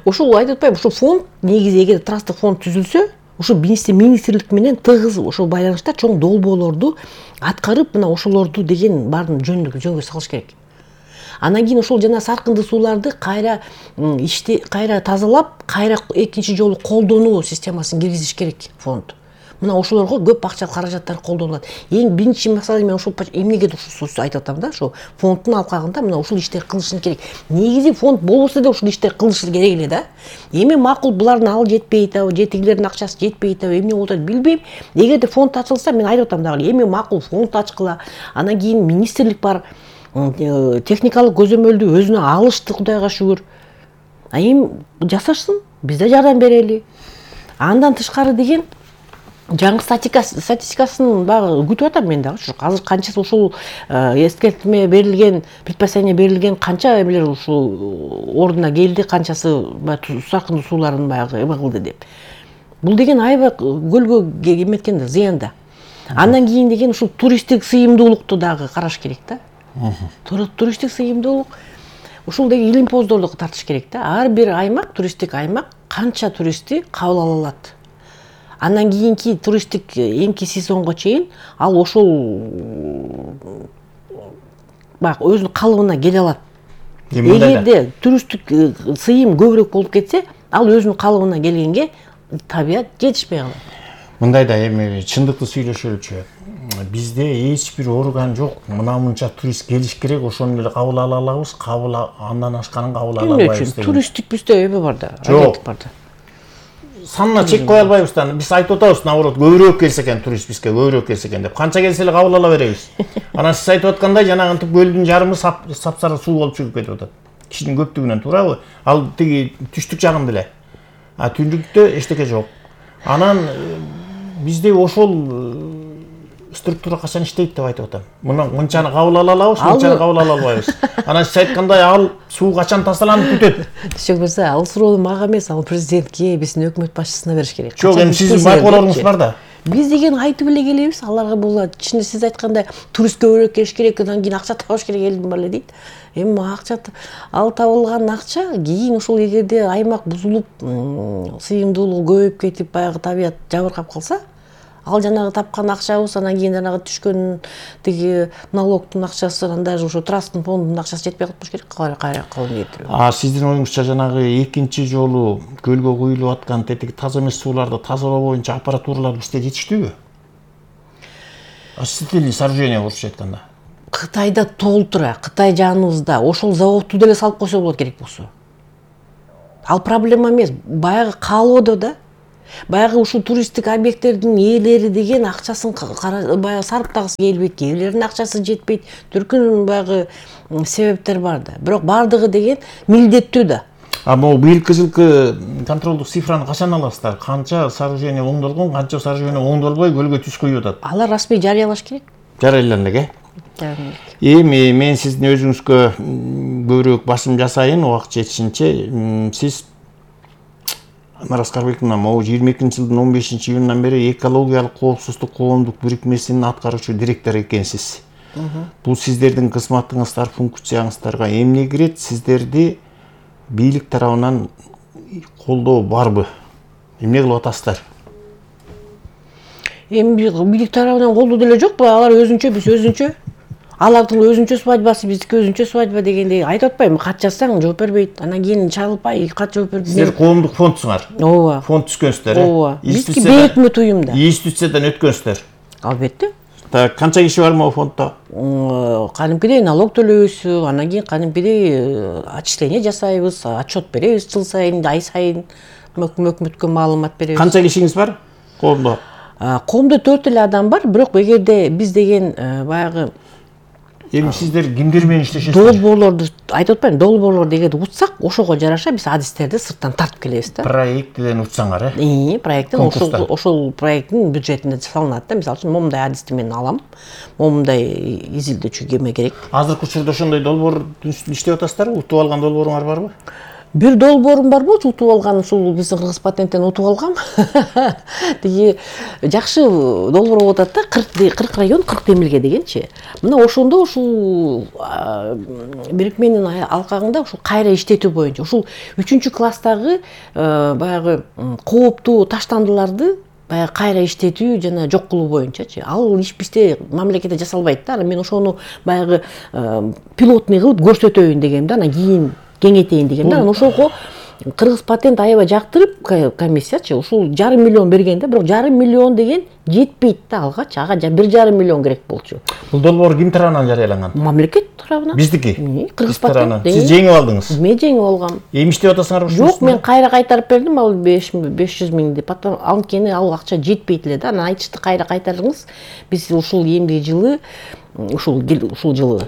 Ошол айтып атпайбы, ошо фонд негизи эгер трасттык фонд түзүлсө, ошо министрлик менен тыгыз ошол байланышта чоң долбоорлорду аткарып, мына ошолорду деген баарын жөнгө салыш керек. Андан кийин ошол жана саркынды сууларды кайра тазалап, кайра экинчи жолу колдонуу системасын киргизиш керек фонд. Мына ошолорго көп акча каражаттар колдонулат. Эң биринчи маселе мен ошол эмнеге ушул айтып атам да, ошо фонддун алкагында мына ушул иштер кылышын керек. Негизи фонд болбосо да ушул иштер кылышы керек эле да. Эми макул булардын алы жетпей атабы, же тигилердин акчасы жетпей атабы, эмне болот билбейм. Эгерде фонд ачылса, мен айтып атам дагы, эми макул фонд ачкыла. Андан кийин министрлик бар, техникалык көзөмөлдү өзүнө алышты, Кудайга шүгүр. Эми жасашсын, биз да жардам берели. Андан тышкары деген жаңы статистикасын багы күтүп атам мен дагы. Азыр канчасы ушул эскертме берилген, предписание берилген канча эмелер ушул ордуна келди, канчасы саркынды сууларын баягы эме кылды деп. Бул деген аябай көлгө эметкен да, зыян да. Андан кийин деген ушул туристтик сыйымдуулукту дагы караш керек да. Туристтик сыйымдуулук ушул деген илимпоздорду тартыш керек да. Ар бир аймак, туристтик аймак канча туристти кабыл ала алат. Андан кийинки туристтик эмки сезонго чейин ал ошол баягы өзүнүн калыбына келе алат. Эгерде туристтик сыйым көбүрөөк болуп кетсе, ал өзүнүн калыбына келгенге табият жетишпей калат. Мындай да эми чындыкты сүйлөшөлүчү. Бизде эч бир орган жок. Мына мынча турист келиш керек, ошону эле кабыл ала алабыз, андан ашканын кабыл ала албайбыз деген. Туристтик бизде эме бар да, агенттик бар да. Санына чек кое албайбыз да. Биз айтып атабыз, наоборот, көбүрөөк келсе экен турист бизге, көбүрөөк келсе экен деп. Канча келсе эле кабыл ала беребиз. Анан сиз айтып аткандай жанагынтип көлдүн жарымы сапсары суу болуп чыгып кетип атат. Кишинин көптүгүнөн, туурабы? Ал тиги түштүк жагында эле. Түндүктө эчтеке жок. Анан бизде ошол структура качан иштейт деп айтып атам. Мынчаны кабыл ала алабыз, мынчаны кабыл ала албайбыз. Анан сиз айткандай ал суу качан тазаланып бүтөт? Түшүнбөсө, ал суроону мага эмес, ал президентке, биздин өкмөт башчысына бериш керек. Жок, эми сиздин байкоолоруңуз бар да. Биз деген айтып эле келебиз, аларга бул чын сиз айткандай турист көбүрөөк келиш керек, андан кийин акча табыш керек элдин баары дейт. Эми акча ал табылган акча кийин ушул эгерде аймак бузулуп, сыйымдуулугу көбөйүп кетип, баягы табият жабыркап калса, Ал жанагы тапкан акчабыз, анан кийин жанагы түшкөн тиги налогдун акчасы, анан даже ошо транспорт фондунун акчасы жетпей калып болуш керек кайра калып кетирип. Сиздин оюңузча жанагы экинчи жолу көлгө куюлуп аткан тетиги таза эмес сууларды тазалоо боюнча аппаратуралар бизде жетиштүүбү? Осветительный сооружение орусча айтканда. Кытайда толтура, Кытай жаныбызда, ошол заводду деле салып койсо болот керек болсо. Ал проблема эмес, баягы каалоодо да. Баягы ушул туристтик объекттердин ээлери деген акчасын баягы сарптагысы келбейт, кээбилеринин акчасы жетпейт. Түркүн баягы себептер бар да. Бирок бардыгы деген милдеттүү да. Могу быйылкы жылкы контролдук цифраны качан аласыздар? Канча сооружение оңдолгон, канча сооружение оңдолбой көлгө түз куюп атат? Алар расмий жарыялаш керек. Жарыяланды ке? Эми мен сиздин өзүңүзгө көбүрөөк басым жасайын, убакыт жетишинче. Сиз Анар Аскарбековна, могу 22 жылдын 15-июнунан бери экологиялык коопсуздук коомдук бирикмесинин аткаруучу директору экенсиз. Бул сиздердин кызматыңыздар, функцияңыздарга эмне кирет? Сиздерди бийлик тарабынан колдоо барбы? Эмне кылып атасыздар? Эми бийлик тарабынан колдоо деле жокпу, алар өзүнчө, биз өзүнчө. Алардын өзүнчө свадьбасы, биздики өзүнчө свадьба дегендей айтып атпайбы, кат жазсаң жооп бербейт. Анан кийин чагылпай кат жооп бербейт. Сиздер коомдук фондсуңар. Ооба. Фонд түзгөнсүздөр, Ооба. Бизки бейт уюмда. Институциядан өткөнсүздөр. Албетте. Так, канча киши бар могу фонддо? Кадимкидей налог төлөйбүз, анан кийин кадимкидей отчисление жасайбыз, отчет беребиз жыл сайын, ай сайын өкмөткө маалымат беребиз. Канча кишиңиз бар коомдо? Коомдо 4 эле адам бар, бирок эгерде биз деген баягы Эми сиздер кимдер менен иштешесиздер? Долбоорлорду айтып атпайбы, долбоорлорду эгерде утсак, ошого жараша биз адистерди сырттан тартып келебиз да. Проекттен утсаңар, проекттен ошол проекттин бюджетине салынат да. Мисалы үчүн момундай адисти мен алам, момундай изилдөөчү кеме керек. Азыркы учурда ошондой долбоор иштеп атасыздарбы? Утуп алган долбооруңар барбы? Бир долбоорум бар болчу, утуп алган, ушул биздин кыргыз патенттен утуп алгам. Тиги жакшы долбоор болуп атат да, 40 район 40 эмилге дегенчи. Мына ошондо ушул бирикменин алкагында ушул кайра иштетүү боюнча, ушул 3-класстагы баягы кооптуу таштандыларды баягы кайра иштетүү жана жок кылуу боюнчачы. Ал иш бизде мамлекетте жасалбайт да. Мен ошону баягы пилотный кылып көрсөтөйүн дегем да, анан кийин кеңейтейин дегем да. Анан ошого кыргыз патент аябай жактырып комиссиячы ушул 500 000 берген да, бирок 500 000 деген жетпейт да алгачы. Ага 1,5 миллион керек болчу. Бул долбоор ким тарабынан жарыяланган? Мамлекет тарабынан. Биздики? Кыргыз патент. Сиз жеңип алдыңыз? Мен жеңип алгам. Эми иштеп атасыңар ушул? Жок, мен кайра кайтарып бердим ал 500 000 деп. Потом анткени ал акча жетпейт эле да. Анан айтышты кайра кайтарыңыз. Биз ушул эмдиги жылы ушул жылы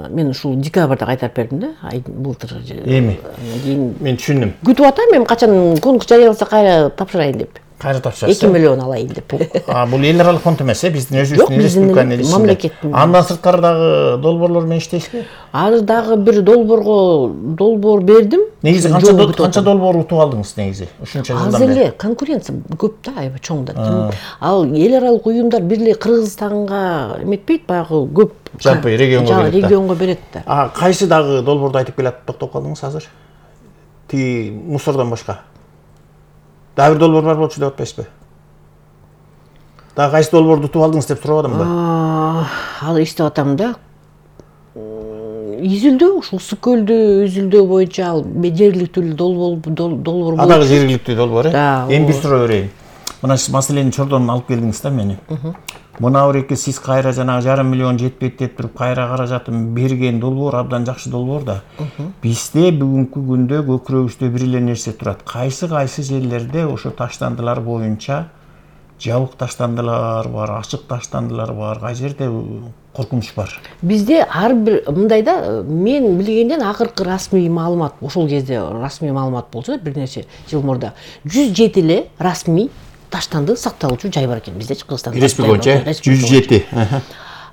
мен ушул декабрда кайтарып бердим да, былтыр. Эми мен түшүндүм. Күтүп атам, эми качан конкурс жарыяланса кайра тапшырайын деп. Кайра тапшырасыз? 2 миллион алайын деп. Бул эл аралык фонд эмес, биздин өзүбүздүн республиканын ичинде. Мамлекеттин. Андан сырткары дагы долбоорлор менен иштейсизби? Ар дагы бир долбоор бердим. Негизи канча долбоор утуп алдыңыз негизи? Ушунча жылдан бери. Азыр эле конкуренция көп да, аябай чоң да. Ал эл аралык уюмдар бир эле Кыргызстанга эметпейт, баягы көп жалпы регионго берет да. Кайсы дагы долбоорду айтып келатып токтоп калдыңыз азыр? Тиги мусордон башка. Дагы бир долбоор бар болчу деп атпайсызбы? Дагы кайсы долбоорду утуп алдыңыз деп сурап атам да. Ал иштеп атам да. Изилдөө, ушул Сукөлдү изилдөө боюнча ал жергиликтүү долбоор. Дагы жергиликтүү долбоор, Эми бир суроо берейин. Мына сиз маселени чордон алып келдиңиз да мени. Мына эки сиз кайра жанагы 500 000 жетпейт деп туруп кайра каражатын берген долбоор абдан жакшы долбоор да. Бизде бүгүнкү күндө көкүрөгүбүздө бир эле нерсе турат. Кайсы жерлерде ошо таштандылар боюнча жабык таштандылар бар, ачык таштандылар бар, кай жерде коркунуч бар. Бизде ар бир мындай да, мен билгенден акыркы расмий маалымат, ошол кезде расмий маалымат болчу бир нече жыл мурда 107 эле расмий таштанды сакталуучу жай бар экен бизде Кыргызстанда. Республика 107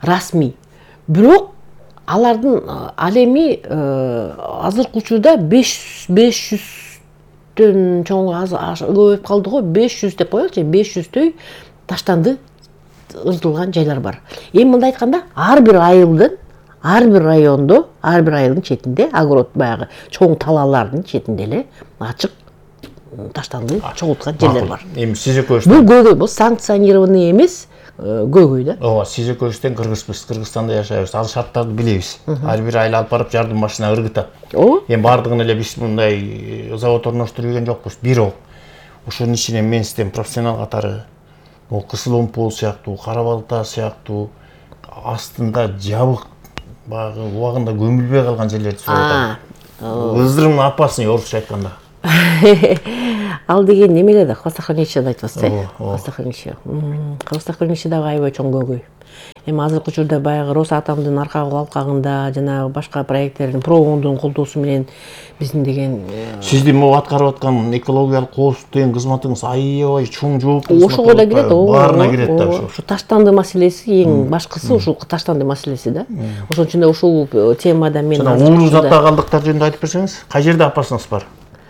расмий. Бирок алардын ал эми азыркы учурда 500дөн чоң көбөйүп калды го, 500 деп коелучу, 500дөй таштанды ырдылган жайлар бар. Эми мындай айтканда, ар бир айылдын, ар бир райондо, ар бир айылдын четинде, огород баягы чоң талаалардын четинде эле ачык таштанды, чогулткан жерлер бар. Эми сиз экөөбүз Бул көйгөй, бул санкционированный эмес көйгөй да. ооба, сиз экөөбүздөн кыргызбыз, Кыргызстанда жашайбыз, ал шарттарды билебиз. Ар бир айыл алып барып жардым машина ыргытат. Ооба. Эми баардыгын эле биз мындай завод орноштуруп жүргөн жокпуз. Бирок ошонун ичинен мен сизден профессионал катары могу Кызыл Омпол сыяктуу, Кара Балта сыяктуу астында жабык баягы убагында көмүлбөй калган жерлерди сурап атам. Ыздырымдын апасын орусча айтканда. Ал деген немеле да, хвостохранилищеде айтып атсыз, Ооба. хвостохранилище. Хвостохранилище дагы аябай чоң көйгөй. Эми азыркы учурда баягы Росатомдун аркагы алкагында жана башка проекттердин Проондун колдоосу менен биздин деген Сиздин могу аткарып аткан экологиялык коопсуздук деген кызматыңыз аябай чоң жооптуу. ошого да кирет, баарына кирет да ошо. Ушу таштанды маселеси эң башкысы, ушул таштанды маселеси да. Ошон үчүн да ушул темада мен Жана уулуу заттар калдыктар жөнүндө айтып берсеңиз, кай жерде опасность бар?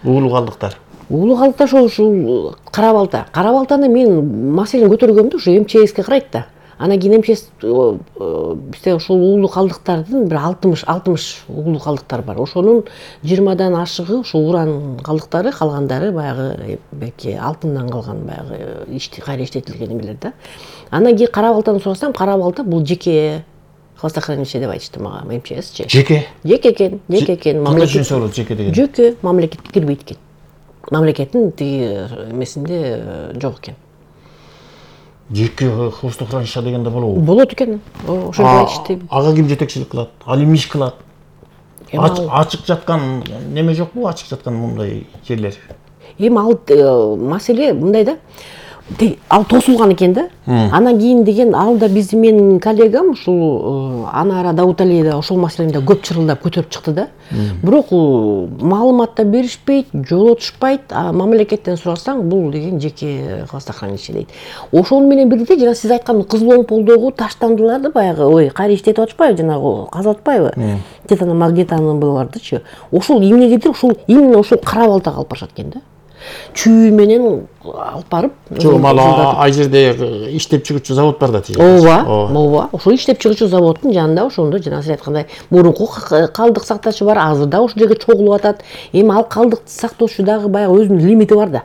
Уулуу калдыктар. Уулуу калдыктар ушул Кара Балта. Кара Балтаны мен маселени көтөргөмдө ушу МЧСке карайт да. Анан кийин МЧС бизде ушул уулуу калдыктардын бир 60 уулуу калдыктар бар. Ошонун 20дан ашыгы ушул уран калдыктары, калгандары баягы белки алтындан калган баягы кайра иштетилген эмелер да. Анан кийин Кара Балтаны сурасам, Кара Балта бул жеке хвостохранилище деп айтышты мага МЧСчи. Жеке? Жеке экен. Кандай түшүнсө болот жеке деген? Жеке, мамлекетке кирбейт экен. Мамлекеттин тиги эмесинде жок экен. Жеке хвостохранилище дегенде болобу? Болот экен. Ошентип айтышты. Ага ким жетекчилик кылат? Ал эмне иш кылат? Ачык жаткан неме жокпу? Ачык жаткан мындай жерлер. Эми ал маселе мындай да. Ал тосулган экен да. Анан кийин деген ал да биздин менин коллегам ушул Анара Дауталиева да ошол маселени да көп чырылдап көтөрүп чыкты да. Бирок маалымат да беришпейт, жолотушпайт. Мамлекеттен сурасаң, бул деген жеке хвостохранилище дейт. Ошол менен бирдикте жана сиз айткан Кызыл Омполдогу таштандыларды баягы кайра иштетип атышпайбы, жанагы казып атпайбы? Титано-магнитанын булардычы. Ошол эмнегедир ушул именно ушул Кара Балтага алып барышат экен да. Чүй менен алып барып. Жок, ал жерде иштеп чыгуучу завод бар да тиги. Ооба. Ошол иштеп чыгуучу заводдун жанында ошондо жана сиз айткандай мурунку калдык сакташы бар, азыр да ошол жерге чогулуп атат. Эми ал калдыкты сактоочу дагы баягы өзүнүн лимити бар да.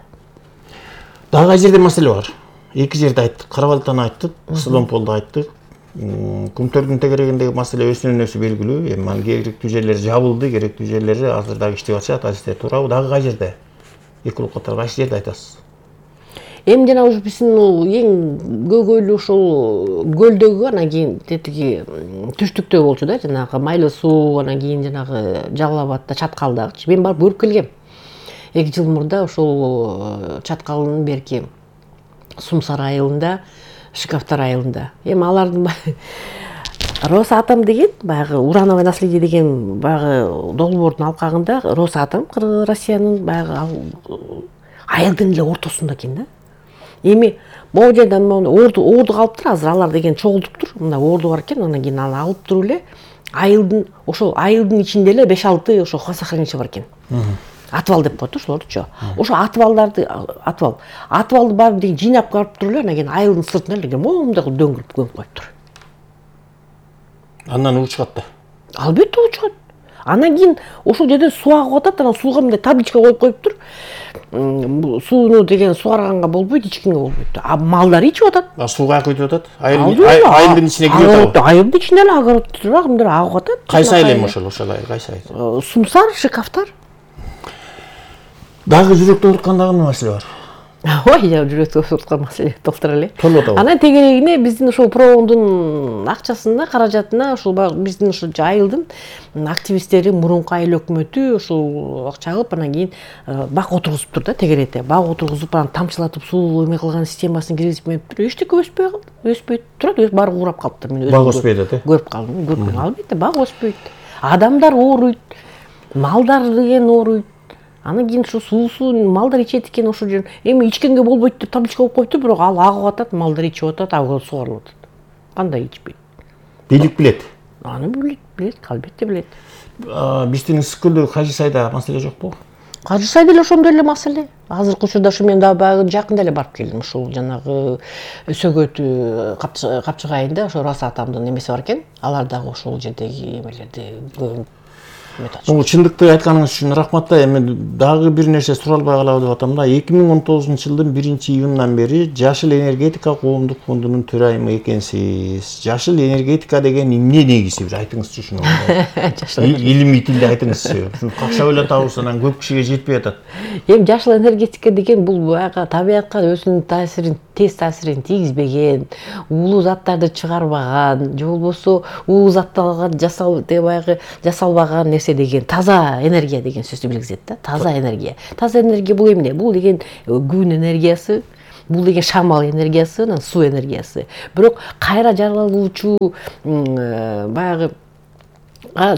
Дагы кай жерде маселе бар? Эки жерде айттык. Кара Балтаны айттык, Кызыл Омполду айттык. Күмтөрдүн тегерегиндеги маселе өзүнөн-өзү белгилүү. Эми анын керектүү жерлери жабылды, керектүү жерлери азыр дагы иштеп атышат. Азырда туурабы? Дагы кай жерде? Эколог катары кайсы жерде айтасыз? Эми жана ушу биздин эң көйгөйлүү ушул көлдөгү, анан кийин тетиги түштүктө болчу да, жанагы Майлы суу, анан кийин жанагы Жалал Абадда Чаткалдагычы. Мен барып көрүп келгем. 2 жыл мурда ушул Чаткалдын берки Сумсар айылында, Шкафтар айылында. Эми алардын Росатом деген баягы урановое наследие деген баягы долбоордун алкагында Росатом Россиянын баягы айылдын эле ортосунда экен да. Эми могу жерден орду калыптыр, азыр алар деген чогултуптур. Мында орду бар экен, анан кийин аны алып туруп эле айылдын ошол айылдын ичинде эле 5-6 ошо хвостохранилище бар экен. Атвал деп коет ошолордучу. Ошо атвалды барып деген жыйнап барып туруп эле, анан кийин айылдын сыртына эле момундай кылып дөңгүрүп көмүп коюптур. Андан уу чыгат да. Албетте уу чыгат. Анан кийин ошол жерден суу агып атат, анан сууга мындай табличка коюп коюптур. Сууну деген сугарганга болбойт, ичкенге болбойт. А малдар ичип атат. Суу каяка өтүп атат? Айылдын ичине кирип атат. Айылдын ичинде эле агымдар агып атат. Кайсы айыл эми ошол айыл, кайсы айыл? Сумсар, Шкафтар. Дагы жүрөктө ауырткан дагы маселе бар. Ой, жүрөктө ауырткан маселе толтура эле. Толотобу. Анан тегерегине биздин ошол Проондун акчасына, каражатына ошол биздин ошол айылдын активисттери, мурунку айыл өкмөтү ошол акча алып, анан кийин бак отургузуптур да тегеретте. Бак отургузуп, анан тамчылатып суу эме кылган системасын киргизип менептир. Эчтеке өспөйт турат, өз баары курап калыптыр. Мен Бак өспөйт да. Көрүп калдым. Албетте бак өспөйт. Адамдар ооруйт. Малдар деген ооруйт. Анан кийин ушу суусун малдар ичет экен ошол жер. Эми ичкенге болбойт деп табличка коюп коюптур, бирок ал агып атат, малдар ичип атат, агып сугарылып атат. Кандай ичпейт? Бийлик билет. Аны билет, албетте билет. Биздин ысык көлдөгү Кажы сайда маселе жокпу? Кажы сайда эле ошондой эле маселе. Азыркы учурда ушу мен дагы жакында эле барып келдим. Ушул жанагы Сөкөт Капчыгайында ошо Росатомдун немеси бар экен. Алар дагы ошол жердеги эмелерди Бул чындыкты айтканыңыз үчүн рахмат да. Эми дагы бир нерсе суралбай калабы деп атам да. 2019-жылдын 1-июнунан бери Жашыл энергетика коомдук фондунун төрайымы экенсиз. Жашыл энергетика деген эмне негизи бир айтыңызчы ушуну. Илимий тилде айтыңызчы. Ушуну какча ойлотабыз, анан көп кишиге жетпей атат. Эми жашыл энергетика деген бул баягы табиятка өзүнүн таасирин, тез таасирин тийгизбеген, уулуу заттарды чыгарбаган, же болбосо уулуу заттарга жасалбаган нерсе деген таза энергия деген сөздү билгизет да. Таза энергия. Таза энергия бул эмне? Бул деген күн энергиясы, бул деген шамал энергиясы, анан суу энергиясы. Бирок кайра жаралуучу баягы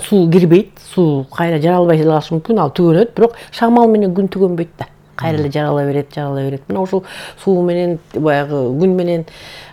суу кирбейт, суу кайра жаралбай калышы мүмкүн, ал түгөнөт, бирок шамал менен күн түгөнбөйт да. Кайра эле жарала берет. Мына ушул суу менен баягы күн менен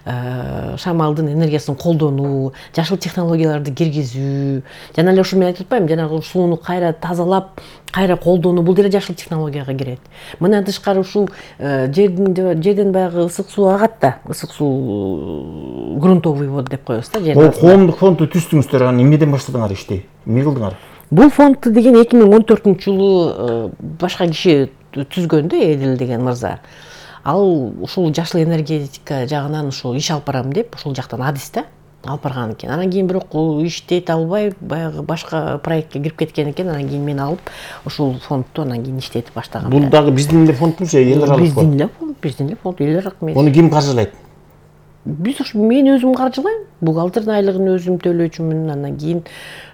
шамалдын энергиясын колдонуу, жашыл технологияларды киргизүү, жана эле ушу мен айтып атпаймынбы, жанагы сууну кайра тазалап, кайра колдонуу бул деле жашыл технологияга кирет. Мындан тышкары ушул жерден баягы ысык суу агат да, ысык суу грунтовый вода деп коебуз да жердин астына. Коомдук фондду түздүңүздөр, анан эмнеден баштадыңар ишти? Эмне кылдыңар? Бул фондду деген 2014-жылы башка киши түзгөн да, Эдил деген мырза. Ал ушул жашыл энергетика жагынан ушул иш алып барам деп ушул жактан адис да алып барган экен. Анан кийин бирок иштете албай баягы башка проектке кирип кеткен экен. Анан кийин мен алып ушул фондду анан кийин иштетип баштагам. Бул дагы биздин эле фондбу же эл аралык? Биздин эле фонд, эл аралык эмес. Муну ким каржылайт? Мен өзүм каржылайм. Бухгалтердин айлыгын өзүм төлөөчүмүн, анан кийин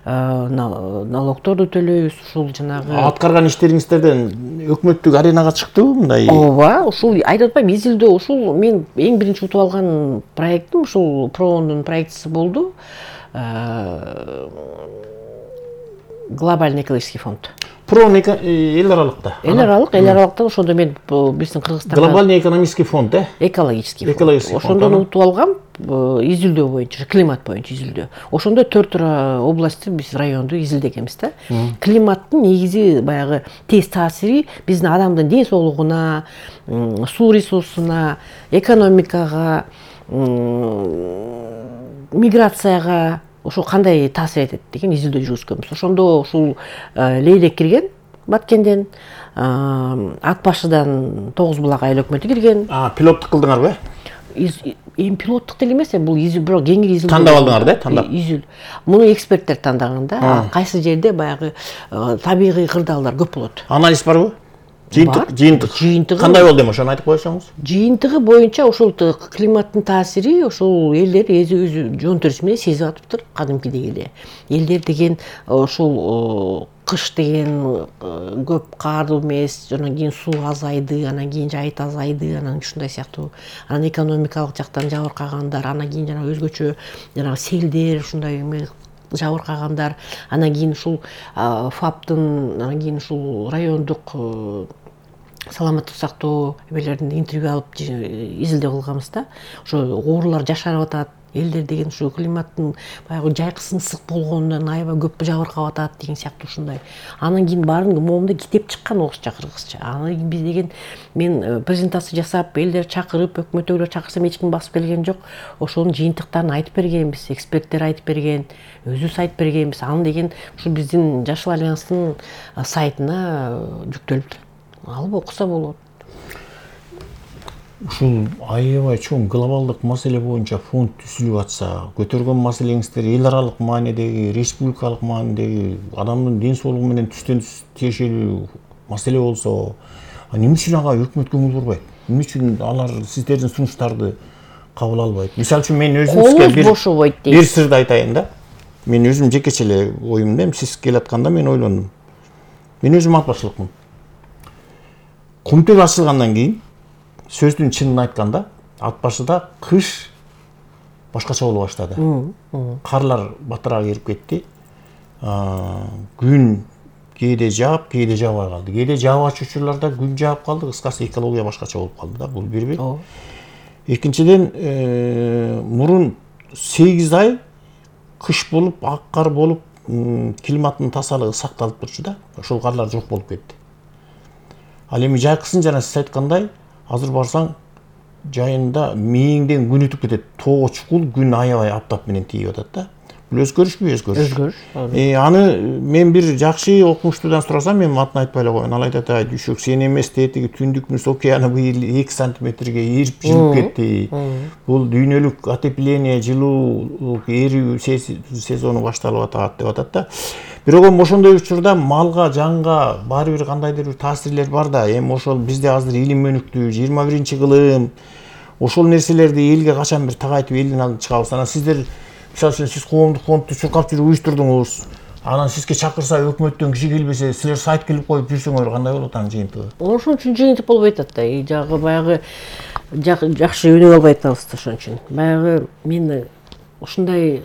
налогторду төлөйбүз. Ушул жанагы аткарган иштериңиздерден өкмөттүк аренага чыктыбы мындай? Ооба, ушул айтып атпайм, изилдөө ушул мен эң биринчи утуп алган проектим ушул ПРООНдун проектиси болду. Глобальный экологический фонд. ПРООН эл аралыкта. Эл аралыкта ошондо мен биздин Кыргызстанга Глобальный экономический фонд, экологический фонд. Ошондон утуп алгам, изилдөө боюнча, климат боюнча изилдөө. Ошондо 4 областты биз районду изилдегенбиз да. Климаттын негизи баягы тез таасири биздин адамдын ден соолугуна, суу ресурсуна, экономикага, миграцияга ошо кандай таасир этет деген изилдөө жүргүзгөнбүз. Ошондо ушул Лейлек кирген Баткенден, Ат башыдан Тогуз булак айыл өкмөтү кирген. Пилоттук кылдыңарбы? Эми пилоттук деле эмес, бул бирок кеңири изилдөө. Тандап алдыңар да, тандап. Муну эксперттер тандаган да. Кайсы жерде баягы табигый кырдаалдар көп болот. Анализ барбы? Жыйынтыгы кандай болду эми, ошону айтып койсоңуз? Жыйынтыгы боюнча ушул климаттын таасири ушул элдер өзү жон терisi менен сезип атыптыр, кадимкидей эле. Элдер деген ушул кыш деген көп кар эмес, анан кийин суу азайды, анан кийин жайыт азайды, анан ушундай сыяктуу. Анан экономикалык жактан жабыркагандар, анан кийин жана өзгөчө жана селдер ушундай жабыркагандар, анан кийин ушул ФАПтын, анан кийин ушул райондук саламаттык сактоо эмелерин интервью алып изилдөө кылганбыз да. Ошо оорулар жашарып атат, элдер деген ушу климаттын баягы жайкысын ысык болгонунан аябай көп жабыркап атат деген сыяктуу ушундай. Анан кийин баарын моомдо китеп чыккан орусча, кыргызча. Анан кийин биз деген мен презентация жасап, элдер чакырып, өкмөттөгүлөр чакырсам эч ким басып келген жок. Ошонун жыйынтыктарын айтып бергенбиз, эксперттер айтып берген, өзүбүз айтып бергенбиз. Аны деген ушу биздин Жашыл альянстын сайтына жүктөлүп, алып окуса болот. Ушул аябай чоң глобалдык маселе боюнча фонд түзүлүп атса, көтөргөн маселеңиздер эл аралык маанидеги, республикалык маанидеги, адамдын ден соолугу менен түстөн түз тиешелүү маселе болсо, эмне үчүн ага өкмөт көңүл бурбайт? Эмне үчүн алар сиздердин сунуштарды кабыл албайт? Мисалы үчүн мен өзүм сизге бир сырды айтайын да. Мен өзүм жекече эле оюмда, сиз келатканда мен ойлондум. Мен өзүм ат башчылыкмын. Кумтөк ачылгандан кийин сөздүн чынын айтканда, Ат башыда кыш башкача боло баштады. Карлар батыраак эрип кетти. Күн кээде жаап, кээде жаабай калды. Кээде жаабачу учурларда күн жаап калды, кыскасы экология башкача болуп калды да. Бул бир. Экинчиден, мурун 8 ай кыш болуп, ак кар болуп, климаттын тазалыгы сакталып турчу да. Ошол карлар жок болуп кетти. Ал эми жайкысын жана сиз айткандай, азыр барсаң жайында мээңден күн өтүп кетет. Тоого чукул күн аябай аптап менен тийип атат да. бул өзгөрүшпү? Өзгөрүш. Аны мен бир жакшы окумуштуудан сурасам, мен атын айтпай эле коеюн. Ал айтат: "Ай, Дүйшөк, сен эмес, тетиги Түндүк Муз океаны быйыл 2 сантиметрге эрип жылып кетти. Бул дүйнөлүк отепление, жылуу эрүү сезону башталып атат" деп атат да. Бирок эми ошондой учурда малга, жанга баары бир кандайдыр бир таасирлер бар да. Эми ошол бизде азыр илим өнүктү, 21-кылым. Ошол нерселерди элге качан бир тагайтып элдин алдына чыгабыз. Анан сиздер, мисалы үчүн, сиз коомдук фондду чуркап жүрүп уюштурдуңуз. Анан сизге чакырса, өкмөттөн киши келбесе, силер сайт кылып коюп жүрсөңөр кандай болот анын жыйынтыгы? Ошон үчүн жыйынтык болбой атат да. Жагы баягы жакшы өнүк албай атабыз да ошон үчүн. Баягы мен ушундай